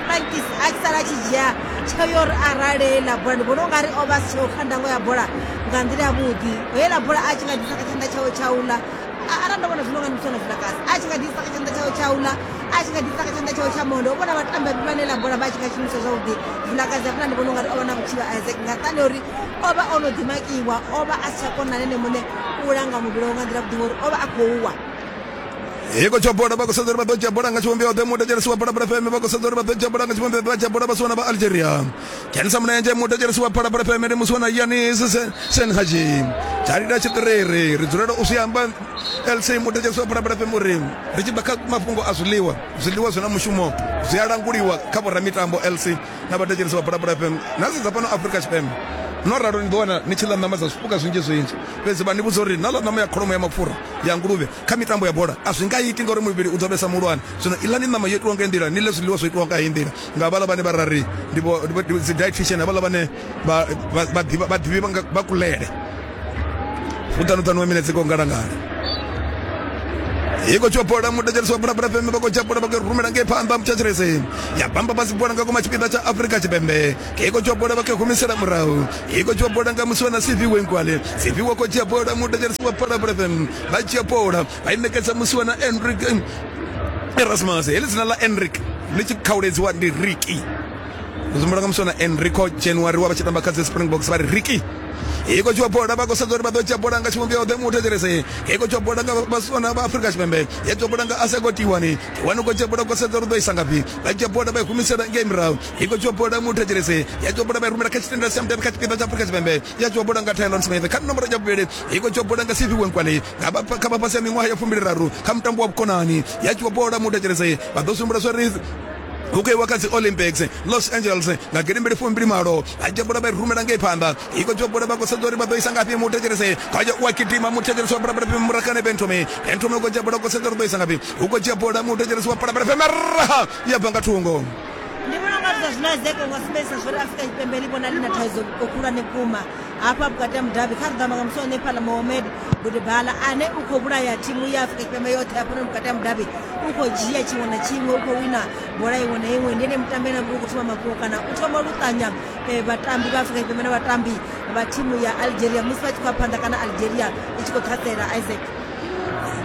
Plankis a tshi sala a tshi dzhia tsheo yo uri arale heiḽa bola ndi vhona ungari o vha si tsheo kha ndango ya bola nga nḓila yavhuḓi. Heiḽa bola a tshi nga ḓisa kha tshanḓa tshawe tshauḽa arali ndo vhona zwino nga ndi muswana Vilakazi a tshi nga ḓisa kha tshanḓa tshawe tshauḽa a tshi nga ḓisa kha tshanḓa tshawe tsha monde u vhona vhatambi vhane ḽa bola vha tshi nga shumisa zwavhuḓi. Vilakazi hafhaḽa ndi vhona ungari o vha na vhutshivha Isaac nga nṱhani uri o vha o no ḓimakiwa o vha a si tsha kona na ene muṋe u langa muvhili wawe nga nḓila vhuḓi ngori o vha a khou wa. Iko tsha bola vha khou sedza uri vha ḓo dzhia bola nga tshivhumbeo ḓe muthetshelesi wa Phalaphala F M vha khou sedza uri vha ḓo dzhia bola nga tshivhumbeo vha dzhia bola vhasiwana vha Algeria. Dzhenisa mulenzhe muthetshelesi wa Phalaphala F M ndi musiwana Yanis Senhaji. Dzhalila tshiṱiriri ri dzulela u zwi amba L C muthetshelesi wa Phalaphala F M uri ri tshi bva kha mafhungo a zwiḽiwa, zwiḽiwa zwi na mushumo zwi a languliwa kha vhoramitambo L C na vhathetshelesi vha Phalaphala F M. Na sedza fhano Afrika Tshipembe no ralo ni ḓo wana ni tshi ḽa ṋama dza zwipuka zwinzhi zwinzhi, fhedzi vha ni vhudza uri na ḽa ṋama ya kholomo ya mapfura ya nguluvhe kha mitambo ya bola a zwi nga iti ngauri muvhili u ḓo vhesa muhulwane. Zwino iḽani ṋama yo itiwa nga nḓila, ni ḽe zwiḽiwa zwo itiwa nga heyi nḓila nga vhaḽa vhane vha rari ndi vho dzi dietitian, havhaḽa vhane vha vha ḓivha vha ḓivhi vha kulele. Fuṱhanuṱhanu wa minetse ko ngalangala. Iko tsho bola muthetshelesi wa Phalaphala F M vha khou dzhia bola vha khou rumela ngei phanḓa muthetshelesi ya bamba fhasi bola nga koma tshipiḓa tsha Afrika Tshipembe. Iko tsho bola vha khou humisela murahu. Iko tsho bola nga musiwana Siviwe Nkwale. Siviwe khou dzhia bola muthetshelesi wa Phalaphala F M vha dzhia bola vha i ṋekedza musiwana Enrique Erasmus. Heḽi dzina ḽa Enrique ḽi tshi khauledziwa ndi Ricky. Zwi nga musiwana Enrico January wa vha tshi tamba kha dzi Springboks vha ri Ricky. Iko tsho bola vha khou sedza uri vha ḓo dzhia bola nga tshivhumbeo ḓe muthetshelesi. Iko tsho bola nga vhasiwana vha Afrika Tshipembe. Ya dzhia bola nga Asego Tiwani. Tiwani khou dzhia bola khou sedza uri ḓo isa ngafhi. Vha dzhia bola vha i humisela ngei murahu. Iko tsho bola muthetshelesi. Ya dzhia bola vha i rumela kha tshitendela tsha mudavhi kha tshipiḓa tsha Afrika Tshipembe. Ya dzhia bola nga Tylon Smith kha nomboro ya vhuvhili. Iko tsho bola nga Siviwe Nkwale nga vha kha vha fhasi ya miṅwaha ya fumbili raru kha mutambo wa vhukonani. Ya dzhia bola muthetshelesi. Vha ḓo sumbula zwa uri hu khou iwa kha dzi Olympics Los Angeles nga gidimbili fumbili malo. Vha dzhia bola vha i rumela ngei phanḓa. Iko dzhia bola vha khou sedza uri vha ḓo isa ngafhi muthetshelesi. Khaja u a gidima muthetshelesi wa Phalaphala F M Murakane Benthome. Benthome u khou dzhia bola khou sedza uri ḓo isa ngafhi. Hu khou dzhia bola muthetshelesi wa Phalaphala F M ya bva nga thungo. Ndi vhona unga zwa zwino Isaac u nga sumbedzisa zwa uri Afrika Tshipembe ḽi vhona ḽi na thaidzo khulwane vhukuma hafha vhukati ha mudavhi. Kha ri ḓo amba nga musi one fhaḽa Mohamed Budebala ane u khou vhulaya thimu ya Afrika Tshipembe yoṱhe hafhanoni vhukati ha mudavhi, u khou dzhia tshiṅwe na tshiṅwe, u khou wina bola iṅwe na iṅwe. Ndi ene mutambi ane u khou thoma mafhungo kana u thoma luṱanya vhatambi vha Afrika Tshipembe na vhatambi vha thimu ya Algeria musi vha tshi khou ya phanḓa kana Algeria i tshi khou ṱhasela Isaac.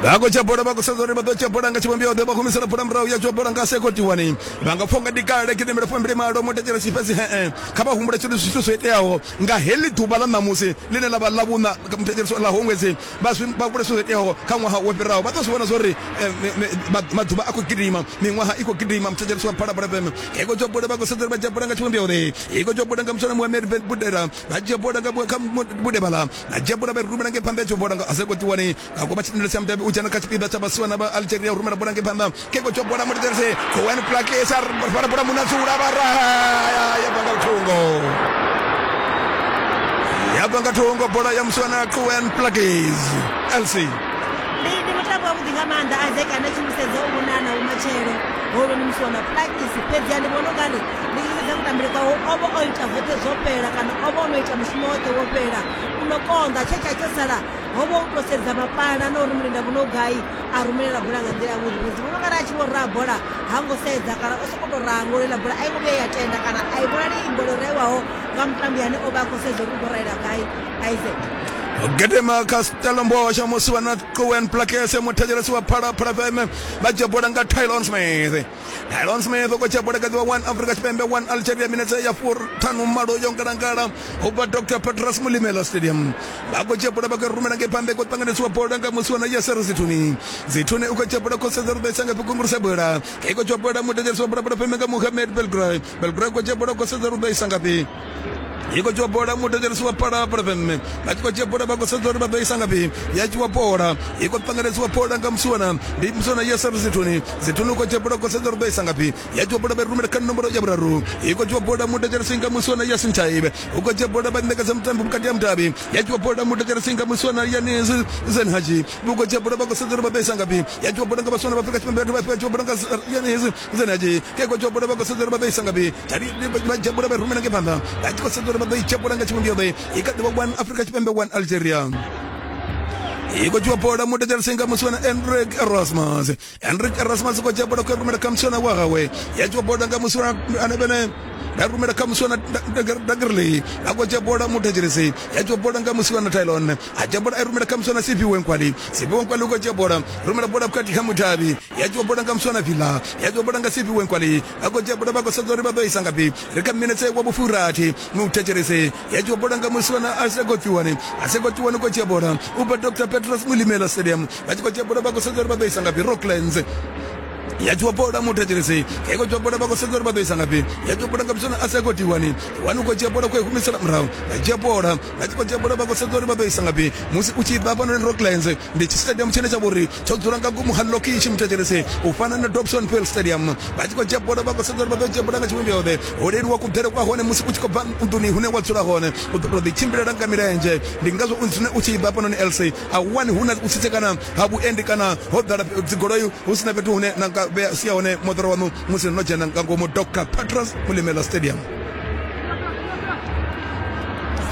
Vha khou dzhia bola vha khou sedza uri vha ḓo dzhia bola nga tshivhumbeo ḓe vha humisela bola murahu ya dzhia bola nga Seko Tiwani. Vha nga pfha unga ndi kale gidimela fumbili malo muthetshelesi fhedzi he kha vha humbule tshithu zwithu zwo iteaho nga heḽi ḓuvha ḽa ṋamusi ḽine ḽa vha ḽa vhuṋa muthetshelesi ḽa ṅwedzi vha zwi vha humbule zwithu zwo iteaho kha ṅwaha wo fhiraho. Vha ḓo zwi vhona zwa uri maḓuvha a khou gidima, miṅwaha i khou gidima. Muthetshelesi wa Phalaphala F M iko dzhia bola vha khou sedza uri vha dzhia bola nga tshivhumbeo ḓe. Iko dzhia bola nga muswana Mohamed Budera vha dzhia bola nga kha Budebala na dzhia bola vha rumela ngei phanḓa ya dzhia bola nga Aseko Tiwani nga koma tshitendele tsha mudavhi u dzhena kha tshipiḓa tsha vhasiwana vha Algeria u rumela bola ngei phanḓa. Keko tsho bola muthetshelesi Kowen Plakes a fara bola Munazula vha raha ya bva nga thungo. Ya bva nga thungo bola ya musiwana Kowen Plakes L C. Ndi ndi mutambo wavhuḓi nga maanḓa Isaac ane tshimusedza u vhonana vhumatshelo holo ni musiwana Plakes, fhedzi ndi vhona ungari ndi tshi sedza kutambele kwawe o vha o ita zwoṱhe zwo fhela kana o vha o no ita mushumo woṱhe wo fhela. U no konḓa tshe tsha tsho sala ho vha u tou sedza mapala na uri mulinda vhuno gai a rumelela bola nga nḓila yavhuḓi. Fhedzi vhona ungari a tshi vho raha bola ha ngo sedza kana o sokou tou raha ngori ḽa bola a i ngo vhuya ya tenda kana a i vhonali i bola yo raiwaho nga mutambi ane o vha a khou sedza uri u khou raela gai Isaac. Gedema kha Stellenbosch musiwana Kowen Plakes muthetshelesi wa Phalaphala F M vha dzhia bola nga Tylon Smith. Tylon Smith u khou dzhia bola kha ḓivha one Afrika Tshipembe one Algeria minetse ya fuṱhanu malo yo ngalangala u bva Doctor Petrus Mulimela Stadium. Vha khou dzhia bola vha khou rumela ngei phanḓa khou ṱanganisiwa bola nga musiwana Yasser Zithuni. Zithuni u khou dzhia bola khou sedza uri ḓo isa ngafhi kunguruse bola. I khou dzhia bola muthetshelesi wa Phalaphala F M nga Mohamed Belgrade. Belgrade khou dzhia bola khou sedza uri ḓo isa ngafhi. Iko dzhia bola muthetshelesi wa Phalaphala F M vha tshi khou dzhia bola vha khou sedza uri vha ḓo isa ngafhi. Ya dzhiwa bola i khou ṱanganesiwa bola nga musiwana ndi musiwana Yasser Zithuni. Zithuni u khou dzhia bola khou sedza uri ḓo isa ngafhi. Ya dzhiwa bola vha rumela kha nomboro ya vhuraru. I khou dzhiwa bola muthetshelesi nga musiwana Yasin Taibe. U khou dzhia bola vha ṋekedza mutambi vhukati ha mudavhi. Ya dzhiwa bola muthetshelesi nga musiwana Yanis Zenhaji. U khou dzhia bola vha khou sedza uri vha ḓo isa ngafhi. Ya dzhiwa bola nga vhasiwana vha Afrika Tshipembe vha dzhiwa bola nga Yanis Zenhaji. Ke khou dzhiwa bola vha khou sedza uri vha ḓo isa ngafhi. Vha dzhia bola vha rumela ngei phanḓa. Vha tshi khou sedza uri vha ḓo i dzhia bola nga tshivhumbeo ḓe. I kha ḓivha one Afrika Tshipembe one Algeria. I khou dzhiwa bola muthetshelesi nga musiwana Enrique Erasmus. Enrique Erasmus u khou dzhia bola khou rumela kha musiwana wa hawe. Ya dzhiwa bola nga musiwana ane vhene Vha rumela kha musiwana Dagrley a khou dzhia bola muthetshelesi ya dzhia bola nga musiwana Tylon a dzhia bola a rumela kha musiwana Siphiwe Nkwali Siphiwe Nkwali u khou dzhia bola rumela bola vhukati kha mutavhi ya dzhia bola nga musiwana Villa ya dzhia bola nga Siphiwe Nkwali a khou dzhia bola vha khou sedza uri vha ḓo isa ngafhi ri kha minetse wa vhufurathi muthetshelesi ya dzhia bola nga musiwana Asegotiwani Asegotiwani u khou dzhia bola u bva Doctor Petros Mulimela Stadium vha tshi khou dzhia bola vha khou sedza uri vha ḓo isa ngafhi Rocklands ya dzhia bola muthetshelesi i khou dzhia bola vha khou sedza uri vha ḓo isa ngafhi ya dzhia bola nga musiwana Asegotiwani wani u khou dzhia bola khou i humisela murahu vha dzhia bola vha tshi khou dzhia bola vha khou sedza uri vha ḓo isa ngafhi musi u tshi bva hafhanoni Rocklands ndi tshistadium tshine tsha vhori tsho dzula nga ngomu ha lokishi muthetshelesi u fana na Dobson Hill Stadium vha tshi khou dzhia bola vha khou sedza uri vha ḓo dzhia bola nga tshivhumbeo ho leluwa kuḓele kwa hone musi u tshi khou bva nḓuni hune wa dzula hone u ḓo tou ḓi tshimbilela nga milenzhe ndi ngazwo u tshi bva hafhanoni L C a u wani hu na u tsitsekana ha vhuendi kana ho ḓala dzigoloi hu sina fhethu hune na nga vhea sia hone moḓoro waṋu musi no dzhena nga ngomu Doctor Petros Mulimela Stadium.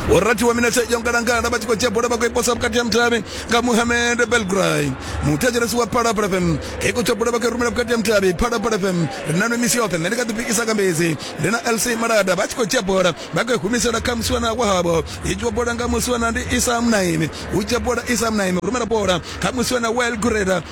Vhorathi wa minetse yo ngalangala vha tshi khou dzhia bola vha khou i posa vhukati ha mutavhi nga Mohamed Belgray muthetshelesi wa Phalaphala F M i khou dzhia bola vha khou i rumela vhukati ha mutavhi Phalaphala F M ri na nwe misi yoṱhe nṋe ndi kha ḓi pikisa kambedzi ndi na L C Malada vha tshi khou dzhia bola vha khou i humisela kha musiwana wahavho i dzhiwa bola nga musiwana ndi Isa Mnaimi hu dzhia bola Isa Mnaimi rumela bola kha musiwana Well Gureda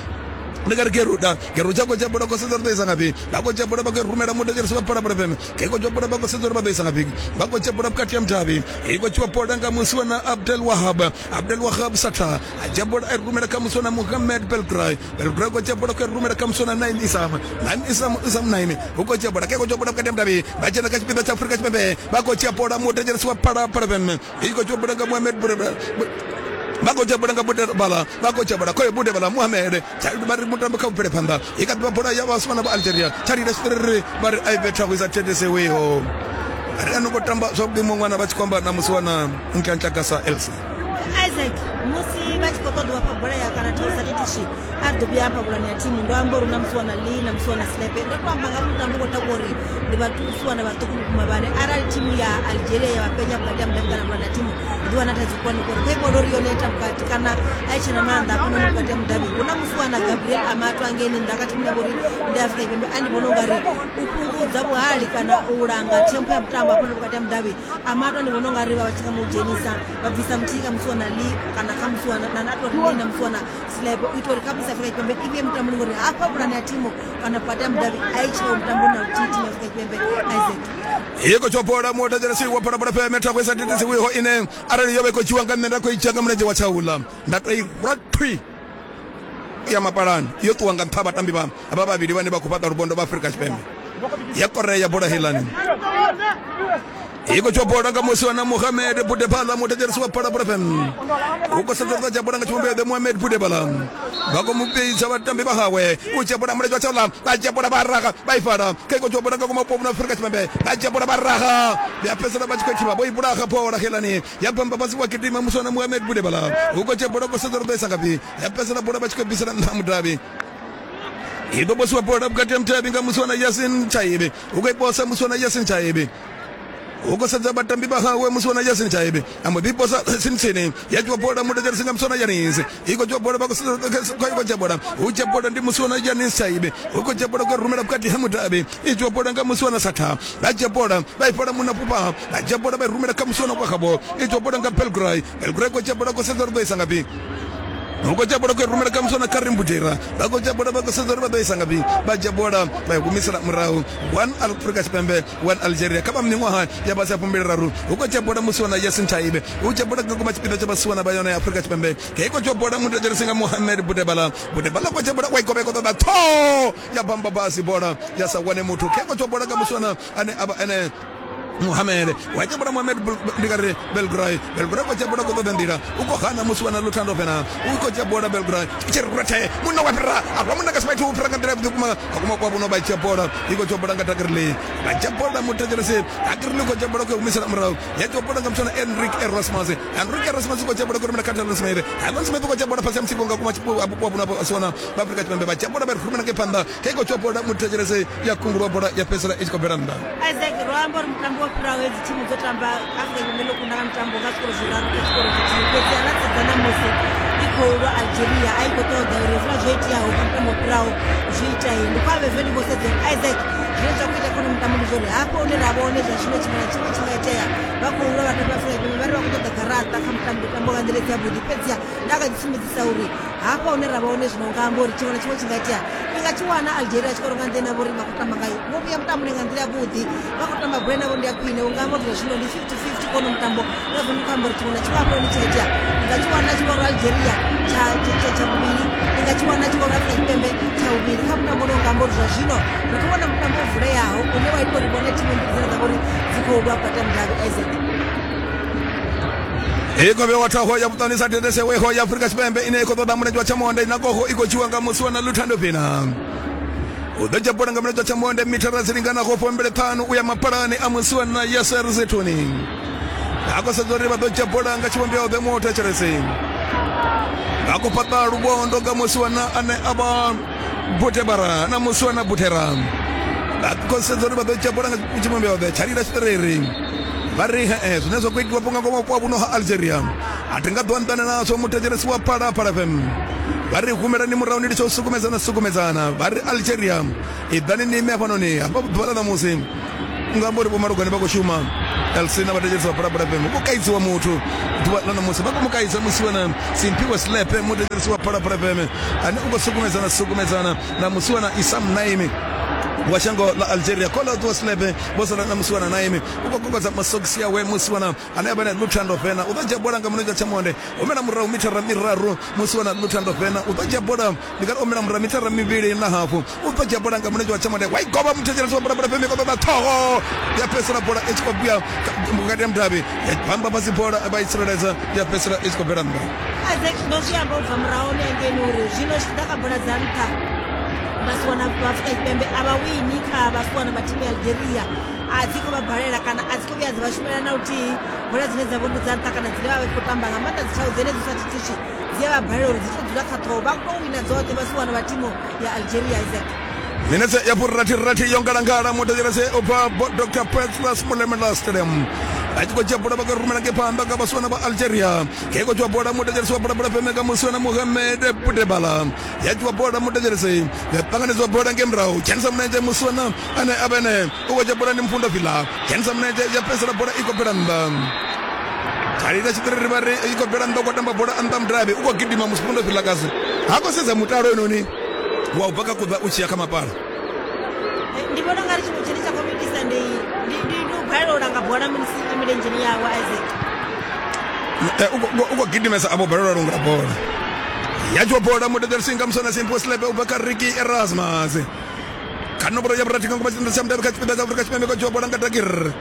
ndi nga ri Geruda Geruda khou dzhia bola khou sedza uri ḓo isa ngafhi vha khou dzhia bola vha khou rumela muthetshelesi wa Phalaphala F M i khou dzhia bola vha khou sedza uri vha ḓo isa ngafhi vha khou dzhia bola vhukati ha mutavhi i khou dzhiwa bola nga musiwana Abdel Wahab Abdel Wahab Sata a dzhia bola a i rumela kha musiwana Mohamed Belgray Belgray khou dzhia bola khou i rumela kha musiwana Naim Isam Naim Isam Isam Naim u khou dzhia bola ke khou dzhia bola vhukati ha mutavhi vha dzhena kha tshipiḓa tsha Afrika Tshipembe vha khou dzhia bola muthetshelesi wa Phalaphala F M i khou dzhia bola nga Mohamed vha khou dzhia bola nga Budebala vha khou dzhia bola khoyo Budebala Mohamed vha ri mutambo kha u bvele phanḓa i kha ḓivha bola ya vhasiwana vha Algeria tsha lila tshiṱiriri vha ri a i vhe thago i sa thetshesewiho ri a no khou tamba zwavhuḓi muṅwe ṅwana vha tshi khou amba na musiwana Nkantlakasa L C Isaac musi vha tshi khou ṱoḓa vhafha bola ya kana thosa titishi a ḓo vhuya hafha vhulani ya thimu ndo amba uri na musiwana Lee na musiwana Slepe ndo to amba nga mutambo khou takuwa uri ndi vhatusiwana vhaṱuku vhukuma vhane arali thimu ya Algeria ya vhapenya vhukati ha mudavhi kana vhulani ya thimu ḓi wana thaidzo khulwane ngori kha ivhona uri yone ita vhukati kana a i tshena maanḓa hafhanoni vhukati ha mudavhi hu na musiwana Gabriel Amato angeini nnḓa kha thimu ya vhori ndi Afrika Tshipembe a ndi vhona ungari u fhungudza vhuhali kana u langa thempo ya mutambo hafhanoni vhukati ha mudavhi Amato ndi vhona ungari vha vha tshi nga mu dzhenisa vha bvisa muthihi kha musiwana Lee kana kha musiwana na na tori Lee na musiwana Slepe u itela uri kha musi Afrika Tshipembe i vhuye mutamboni ngori hafha vhulani ya thimu kana vhukati ha mudavhi a i tsheo mutamboni na luthihi thimu ya Afrika Tshipembe Isaac i khou dzhia bola muthetshelesi wa Phalaphala F M thago i sa thetshesewiho ine arali yo vha i khou dzhiwa nga nṋe nda khou i dzhia nga mulenzhe wa tshaula nda tou i rwa thwi ya mapalani yo ṱuwa nga nṱha vhatambi vha vha vhavhili vhane vha khou fhaṱa luvhondo vha Afrika Tshipembe ya korea bola heiḽani i khou dzhia bola nga musiwana Mohamed Budebala muthetshelesi wa Phalaphala F M u khou sedza uri dzhia bola nga tshivhumbeo Mohamed Budebala vha khou mubidza vhatambi vha hawe u dzhia bola mulenzhe wa tshaula vha dzhia bola vha raga vha i fara kha i khou dzhia bola nga ngomu na Afrika Tshipembe vha dzhia bola vha raga ya fhedzisela vha tshi khou thivha vho i vhulaha bola helani ya bamba fhasi wa gidima musiwana Mohamed Budebala u khou dzhia bola khou sedza uri ḓo isa ngafhi ya fhedzisela bola vha tshi khou bvisela nṱha mudavhi i ḓo posiwa bola vhukati ha mutavhi nga musiwana Yasin Chaibe u khou i posa musiwana Yasin Chaibe u khou sedza vhatambi vha hawe musiwana Yasin Chaibe a mbo ḓi posa tsini ya dzhiwa bola muthetshelesi nga musiwana Yanis i khou dzhiwa bola vha khou dzhia bola hu dzhia bola ndi musiwana Yanis Chaibe u khou dzhia bola khou rumela vhukati ha mudavhi i dzhiwa bola nga musiwana Satha vha dzhia bola vha i fhala munna fhufha vha dzhia bola vha i rumela kha musiwana kwa khavho i dzhiwa bola nga Belgray Belgray khou dzhia bola khou sedza uri ḓo isa ngafhi u khou dzhia bola khou i rumela kha musiwana Karim Budera vha khou dzhia bola vha khou sedza uri vha ḓo isa ngafhi vha dzhia bola vha i humisela murahu one Afrika Tshipembe one Algeria kha vha miṅwaha ya fhasi ha fumbili raru u khou dzhia bola musiwana Yasin Chaibe u dzhia bola nga ngoma tshipiḓa tsha vhasiwana vha yone ya Afrika Tshipembe i khou dzhia bola muthetshelesi nga Mohamed Budebala Budebala khou dzhia bola wa i govha i khou ṱoḓa tho ya bamba fhasi bola ya sa wane muthu khe khou dzhia bola nga musiwana ane a vha ene Mohamed wa dzhia bola Mohamed ndi nga ri Belgray Belgray khou dzhia bola khou ṱoḓa nḓila u khou hana musiwana Luthando Fena u khou dzhia bola Belgray tshi rwethe munna wa fhira a rwa munna nga simaithu u fhira nga nḓila yavhuḓi vhukuma nga kuma kwa vhuno vha dzhia bola i khou dzhia bola nga Dagrli vha dzhia bola muthetshelesi Dagrli khou dzhia bola khou humisela murahu ya dzhia bola nga musiwana Enrique Erasmus Enrique Erasmus khou dzhia bola khou rumela kha Tyron Smith Tyron Smith khou dzhia bola fhasi ha mutsiko nga kuma vhupo vhuno vhasiwana vha Afrika Tshipembe vha dzhia bola vha rumela ngei phanḓa kha i khou dzhia bola muthetshelesi ya kungulwa bola ya fhedzisela i tshi khou bvela nnḓa. Isaac ro amba uri mutambo wo fhiraho hedzi thimu dzo tamba Afrika Tshipembe ḽo kunda nga mutambo nga zwikoro zwiraru kha tshikoro tshithihi fhedzi ra sedza ṋamusi i khou lwa Algeria a i khou ṱoḓa uri hezwiḽa zwo iteaho kha mutambo fhiraho zwi itee. Ndi khou avhe ndi khou sedza Isaac zwine zwa khou ita khone mutambo ndi zwori hafho hune ra vha hone zwa zwino tshiṅwe na tshiṅwe tshi nga itea. Vha khou lwa vhathu vha Afrika Tshipembe vha ri vha khou ṱoḓa garaṱa kha mutambo mutambo nga nḓila i si yavhuḓi, fhedziha nda kha ḓi sumbedzisa uri hafha hune ra vha hone zwino nga amba uri tshiṅwe na tshiṅwe tshi nga itea. I nga tshi wana Algeria tshikoro nga nḓila ine vho ri vha khou tamba ngayo, vho vhuya mutamboni nga nḓila yavhuḓi, vha khou tamba bola navho ndi ya khwine. U nga amba uri zwa zwino ndi fifty fifty kono mutambo, ngazwo ndi khou amba uri tshiṅwe na tshiṅwe hafho hone tshi a itea. I nga tshi wana tshikoro Algeria tsha tsha tsha vhuvhili, i nga tshi wana tshikoro Afrika Tshipembe tsha vhuvhili kha mutambo une unga amba uri zwa zwino ri khou vhona mutambo o vuleaho une wa ita uri vhone thimu mbili dzine dza vha uri dzi khou lwa vhukati ha mudavhi Isaac. I khou vhewa ṱhoho ya vhuṱani sa dedeseweho ya Afrika Tshipembe ine i khou ṱoḓa mulenzhe wa tshamonde na gogo i khou dzhiwa nga musi wa na Luthando Fina. U ḓo dzhia bola nga mulenzhe wa tshamonde mithara dzi linganaho fumbili ṱhanu u ya mapalani a musi wa na Yasser Zitouni. A khou sedza uri vha ḓo dzhia bola nga tshivhumbeo ḓe mu thetshelesi. Vha khou fhaṱa luvhondo nga musi wa na ane a vha Butebara na musi wa na Butera. Vha khou sedza uri vha ḓo dzhia bola nga tshivhumbeo ḓe tshalila tshiṱiriri. Vha ri he zwine zwa khou itiwa nga ngomu vhupo vhuno ha Algeria a thi nga ḓo anḓana nazwo muthetshelesi wa Phalaphala F M. Vha ri humelani murahu ni litshe u sukumedzana sukumedzana. Vha ri Algeria iḓani ni ime hafhanoni hafha ḓuvha ḽa ṋamusi nga amba uri vho Malugwane vha khou shuma L C na vhathetshelesi vha Phalaphala F M. Vho kaidziwa muthu ḓuvha ḽa ṋamusi, vha khou mu kaidza musi wana Simphiwe Slepe muthetshelesi wa Phalaphala F M ane u khou sukumedzana sukumedzana na musi wana Isam Naimi wa shango ḽa Algeria. Kola ṱuwa Slepe vho sala na musi wana Naimi u khou kokodza masogisi awe musi wana ane a vha na Luthando Fena. U ḓo dzhia bola nga mulenzhe wa tshamonde, humela murahu mithara miraru musi wana Luthando Fena. U ḓo dzhia bola ndi nga ri humela murahu mithara mivhili na hafu. U ḓo dzhia bola nga mulenzhe wa tshamonde wa i govha muthetshelesi wa Phalaphala F M i khou ṱoḓa ṱhoho ya fhedzisela bola i tshi khou vhuya vhukati ha mudavhi ya bamba fhasi bola vha i tsireledza ya fhedzisela i tshi khou bvela nnḓa. Isaac ndo zwi amba u bva murahu hangeini uri zwino zwi tshi ḓa kha bola dza nṱha vhasiwana vha Afrika Tshipembe a vha wini kha vhasiwana vha thimu ya Algeria, a dzi khou vha balela kana a dzi khou vhuya dzi vha shumela na luthihi. Bola dzine dza vho ndi dza nṱha kana dzine vha vha khou tamba nga maanḓa dzi tshau dzenedzi sa thithiswi dzi a vha balela uri dzi to dzula kha ṱhoho, vha khou wina dzoṱhe vhasiwana vha thimu ya Algeria. Isaac minetse ya furathi-rathi yo ngalangala muthetshelesi u bva Doctor Petros Molemela Stadium. A tshi khou dzhia bola vha khou rumela ngei phanḓa nga vhasiwana vha Algeria. Khe khou dzhiwa bola muthetshelesi wa Phalaphala F M nga musi wana Mohamed Butebala. Ya dzhiwa bola muthetshelesi ya ṱanganedziwa bola ngei murahu dzhenisa mulenzhe musi wana ane a vha ene u khou dzhia bola ndi Mfundo Vila. Dzhenisa mulenzhe ya fhedzisela bola i khou bvela nnḓa. Tshalila tshiṱiriri vha ri i khou bvela nnḓa u khou tamba bola nnḓa mudavhi u khou gidima musi Mfundo Vila kasi ha khou sedza mutalo inoni wa u bva kha kuḓa u tshi ya kha mapala. Ndi vhona ungari tshiṅwe tshine tsha khou itisa ndi ndi ndi u balelwa u langa bola musi i milenzheni yawe Isaac. U khou gidimesa a vho balelwa u langa bola. Ya dzhiwa bola muthetshelesi nga muswana Simphiwe Slepe u bva kha Ricky Erasmus. Kha nomboro ya vhurathi nga ngoma tshitenda tsha mudavhi kha tshipiḓa tsha Afrika Tshipembe khou dzhiwa bola nga Dakir.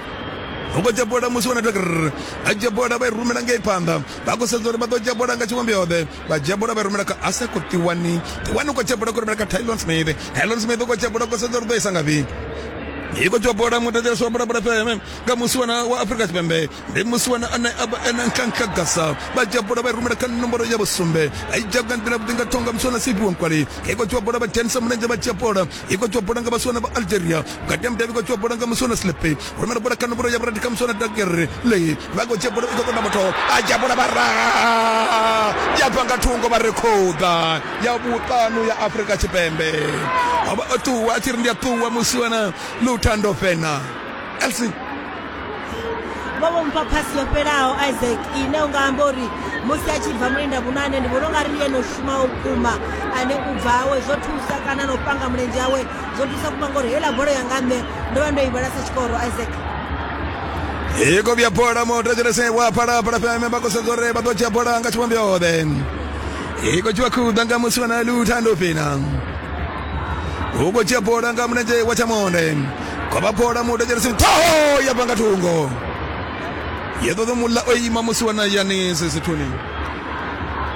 U khou dzhia bola musi wana Dakir a dzhia bola vha i rumela ngei phanḓa. Vha khou sedza uri vha ḓo dzhia bola nga tshivhumbeo ḓe. Vha dzhia bola vha i rumela kha Aseko Tiwani. Tiwani u khou dzhia bola khou rumela kha Tylon Smith. Tylon Smith u khou dzhia bola khou sedza uri ḓo isa ngafhi. I khou dzhiwa bola muthetshelesi wa Phalaphala F M nga musi wana wa Afrika Tshipembe ndi musi wana ane a vha ene Nkankagasa. Vha dzhia bola vha i rumela kha nomboro ya vhusumbe. A i dzhia nga nḓila vhuḓi nga thonga musi wana Siphiwe Nkwali. I khou dzhiwa bola vha dzhenisa mulenzhe vha dzhia bola. I khou dzhiwa bola nga vhasiwana vha Algeria. Vhukati ha mudavhi i khou dzhiwa bola nga musi wana Slepe. Rumela bola kha nomboro ya vhurathi kha musi wana Dakir. Lei vha khou dzhia bola i khou ṱoḓa muthu a dzhia bola vha raha ya bva nga thungo vha rekhoda ya vhuṱanu ya Afrika Tshipembe. O vha o ṱuwa a tshi ri ndi a ṱuwa musi wana Luthando Fena. Elsie vho vho mpha phasi yo fhelaho Isaac ine u nga amba uri musi a tshi bva mulinda vhunane ndi vhona ungari ndi ene o shumaho vhukuma ane u bva hawe zwo thusa kana na u panga mulenzhe awe zwo thusa vhukuma ngori heiḽa bola yanga nṋe ndo vha ndo i vhala sa tshikoro Isaac. I khou vhuya bola muthetshelesi wa Phalaphala F M vha khou sedza uri vha ḓo dzhia bola nga tshivhumbeo ḓe. I khou dzhiwa khuḓa nga musi wana Luthando Fena. U khou dzhia bola nga mulenzhe wa tshamonde. Khou vha bola muthetshelesi ṱhoho ya bva nga thungo. Ye ḓo ḓo muḽa o ima musi wana Yanis Sithuni.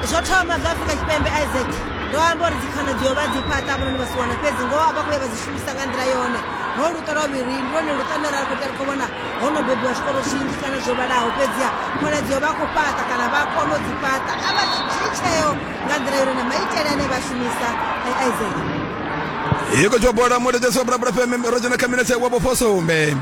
Zwo thoma zwa Afrika Tshipembe Isaac ndo amba uri dzikhonadzeo vha dzi fhaṱa vhononi vhasiwana fhedzi ngoho vha khou ya vha dzi shumisa nga nḓila yone. Ho luṱo lwa vhuvhili ndi lwone luṱo lune ra khou tea ri khou vhona ho no bebiwa zwikolo zwinzhi kana zwo vhalaho, fhedziha khonadzeo vha khou fhaṱa kana vha kona u dzi fhaṱa a vha dzhii tsheo nga nḓila yone na maitele ane vha shumisa Isaac. I khou dzhiwa bola muthetshelesi wa Phalaphala F M ro dzhena kha minetse wa vhufosumbe.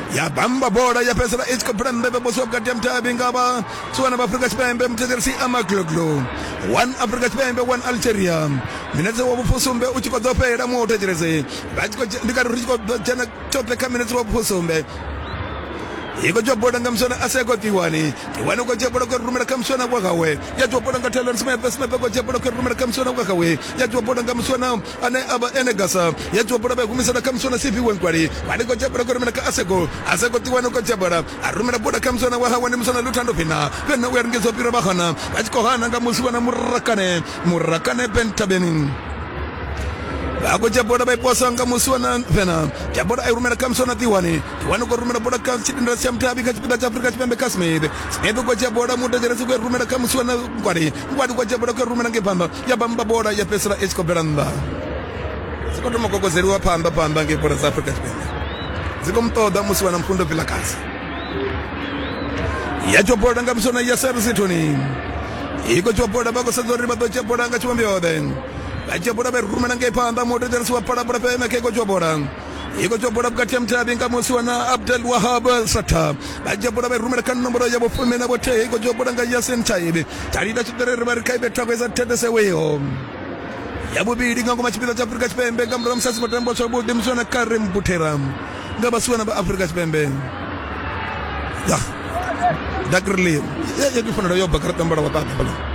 Ya bamba bola ya fhedzisela i tshi khou bvela nnḓa vha vhukati ha mutavhi nga vha tsiwana vha Afrika Tshipembe muthetshelesi Amagloglo. One Afrika Tshipembe one Algeria. Minetse wa vhufusumbe u tshi khou ḓo fhela muthetshelesi vha tshi khou ndi kati ri tshi khou dzhena tshoṱhe kha minetse wa vhufusumbe. Iko dzhia bola nga muswana Aseko Tiwani. Tiwani ko dzhia bola ko rumela kha muswana wa gawe. Ya dzhia bola nga Talon Smith Smith ko dzhia bola ko rumela kha muswana wa gawe. Ya dzhia bola nga muswana ane aba Enegasa. Ya dzhia bola ba humisela kha muswana Sipi Wenkwali. Wani ko dzhia bola ko rumela kha Aseko. Aseko Tiwani ko dzhia bola. A rumela bola kha muswana wa hawe ndi muswana Luthando Pina. Pena u ya ringedza u fhira vhahana. Vha tshi khou hana nga muswana Murakane. Murakane Bentabeni. Vha dzhia bola vha iposa nga muswana Pena. Dzhia bola a i rumela kha muswana Tiwani. Tiwani ko rumela bola kha tshidindela tsha mutavhi kha tshipiḓa tsha Afrika Tshipembe kha Smith. Smith ko dzhia bola muthetshelesi ku rumela kha muswana Nkwali. Nkwali ko dzhia bola ku rumela ngei phanḓa. Ya bamba bola ya fhedzisela i tshi khou bvela nnḓa. Dzi khou thoma gogodzeliwa phanḓa phanḓa ngei bola dza Afrika Tshipembe. Dzi khou muṱoḓa muswana Mfundo Vilakazi. Ya dzhia bola nga muswana Yasser Zitoni. Iko dzhia bola vha khou sedza uri vha ḓo dzhia bola nga tshivhumbeo. Vha dzhia bola vha rumela ngei phanḓa muthetshelesi wa Phalaphala F M kha iko dzhia bola. Iko dzhia bola vhukati ha mutavhi nga muswana Abdel Wahab Sata. Vha dzhia bola vha rumela kha nomboro ya vhufumi na vhuthihi iko dzhia bola nga Yasin Taibi. Talida tshiṱerere vha ri kha ibe thako isa thetheseweho. Ya vhuvhili nga ngoma tshipiḓa tsha Afrika Tshipembe nga murahu musi a songo tamba zwavhuḓi muswana Karim Butera nga vhasiwana vha Afrika Tshipembe. Ya. Dakrli. Ya ya kufanele yo bva kha tambala wa baba.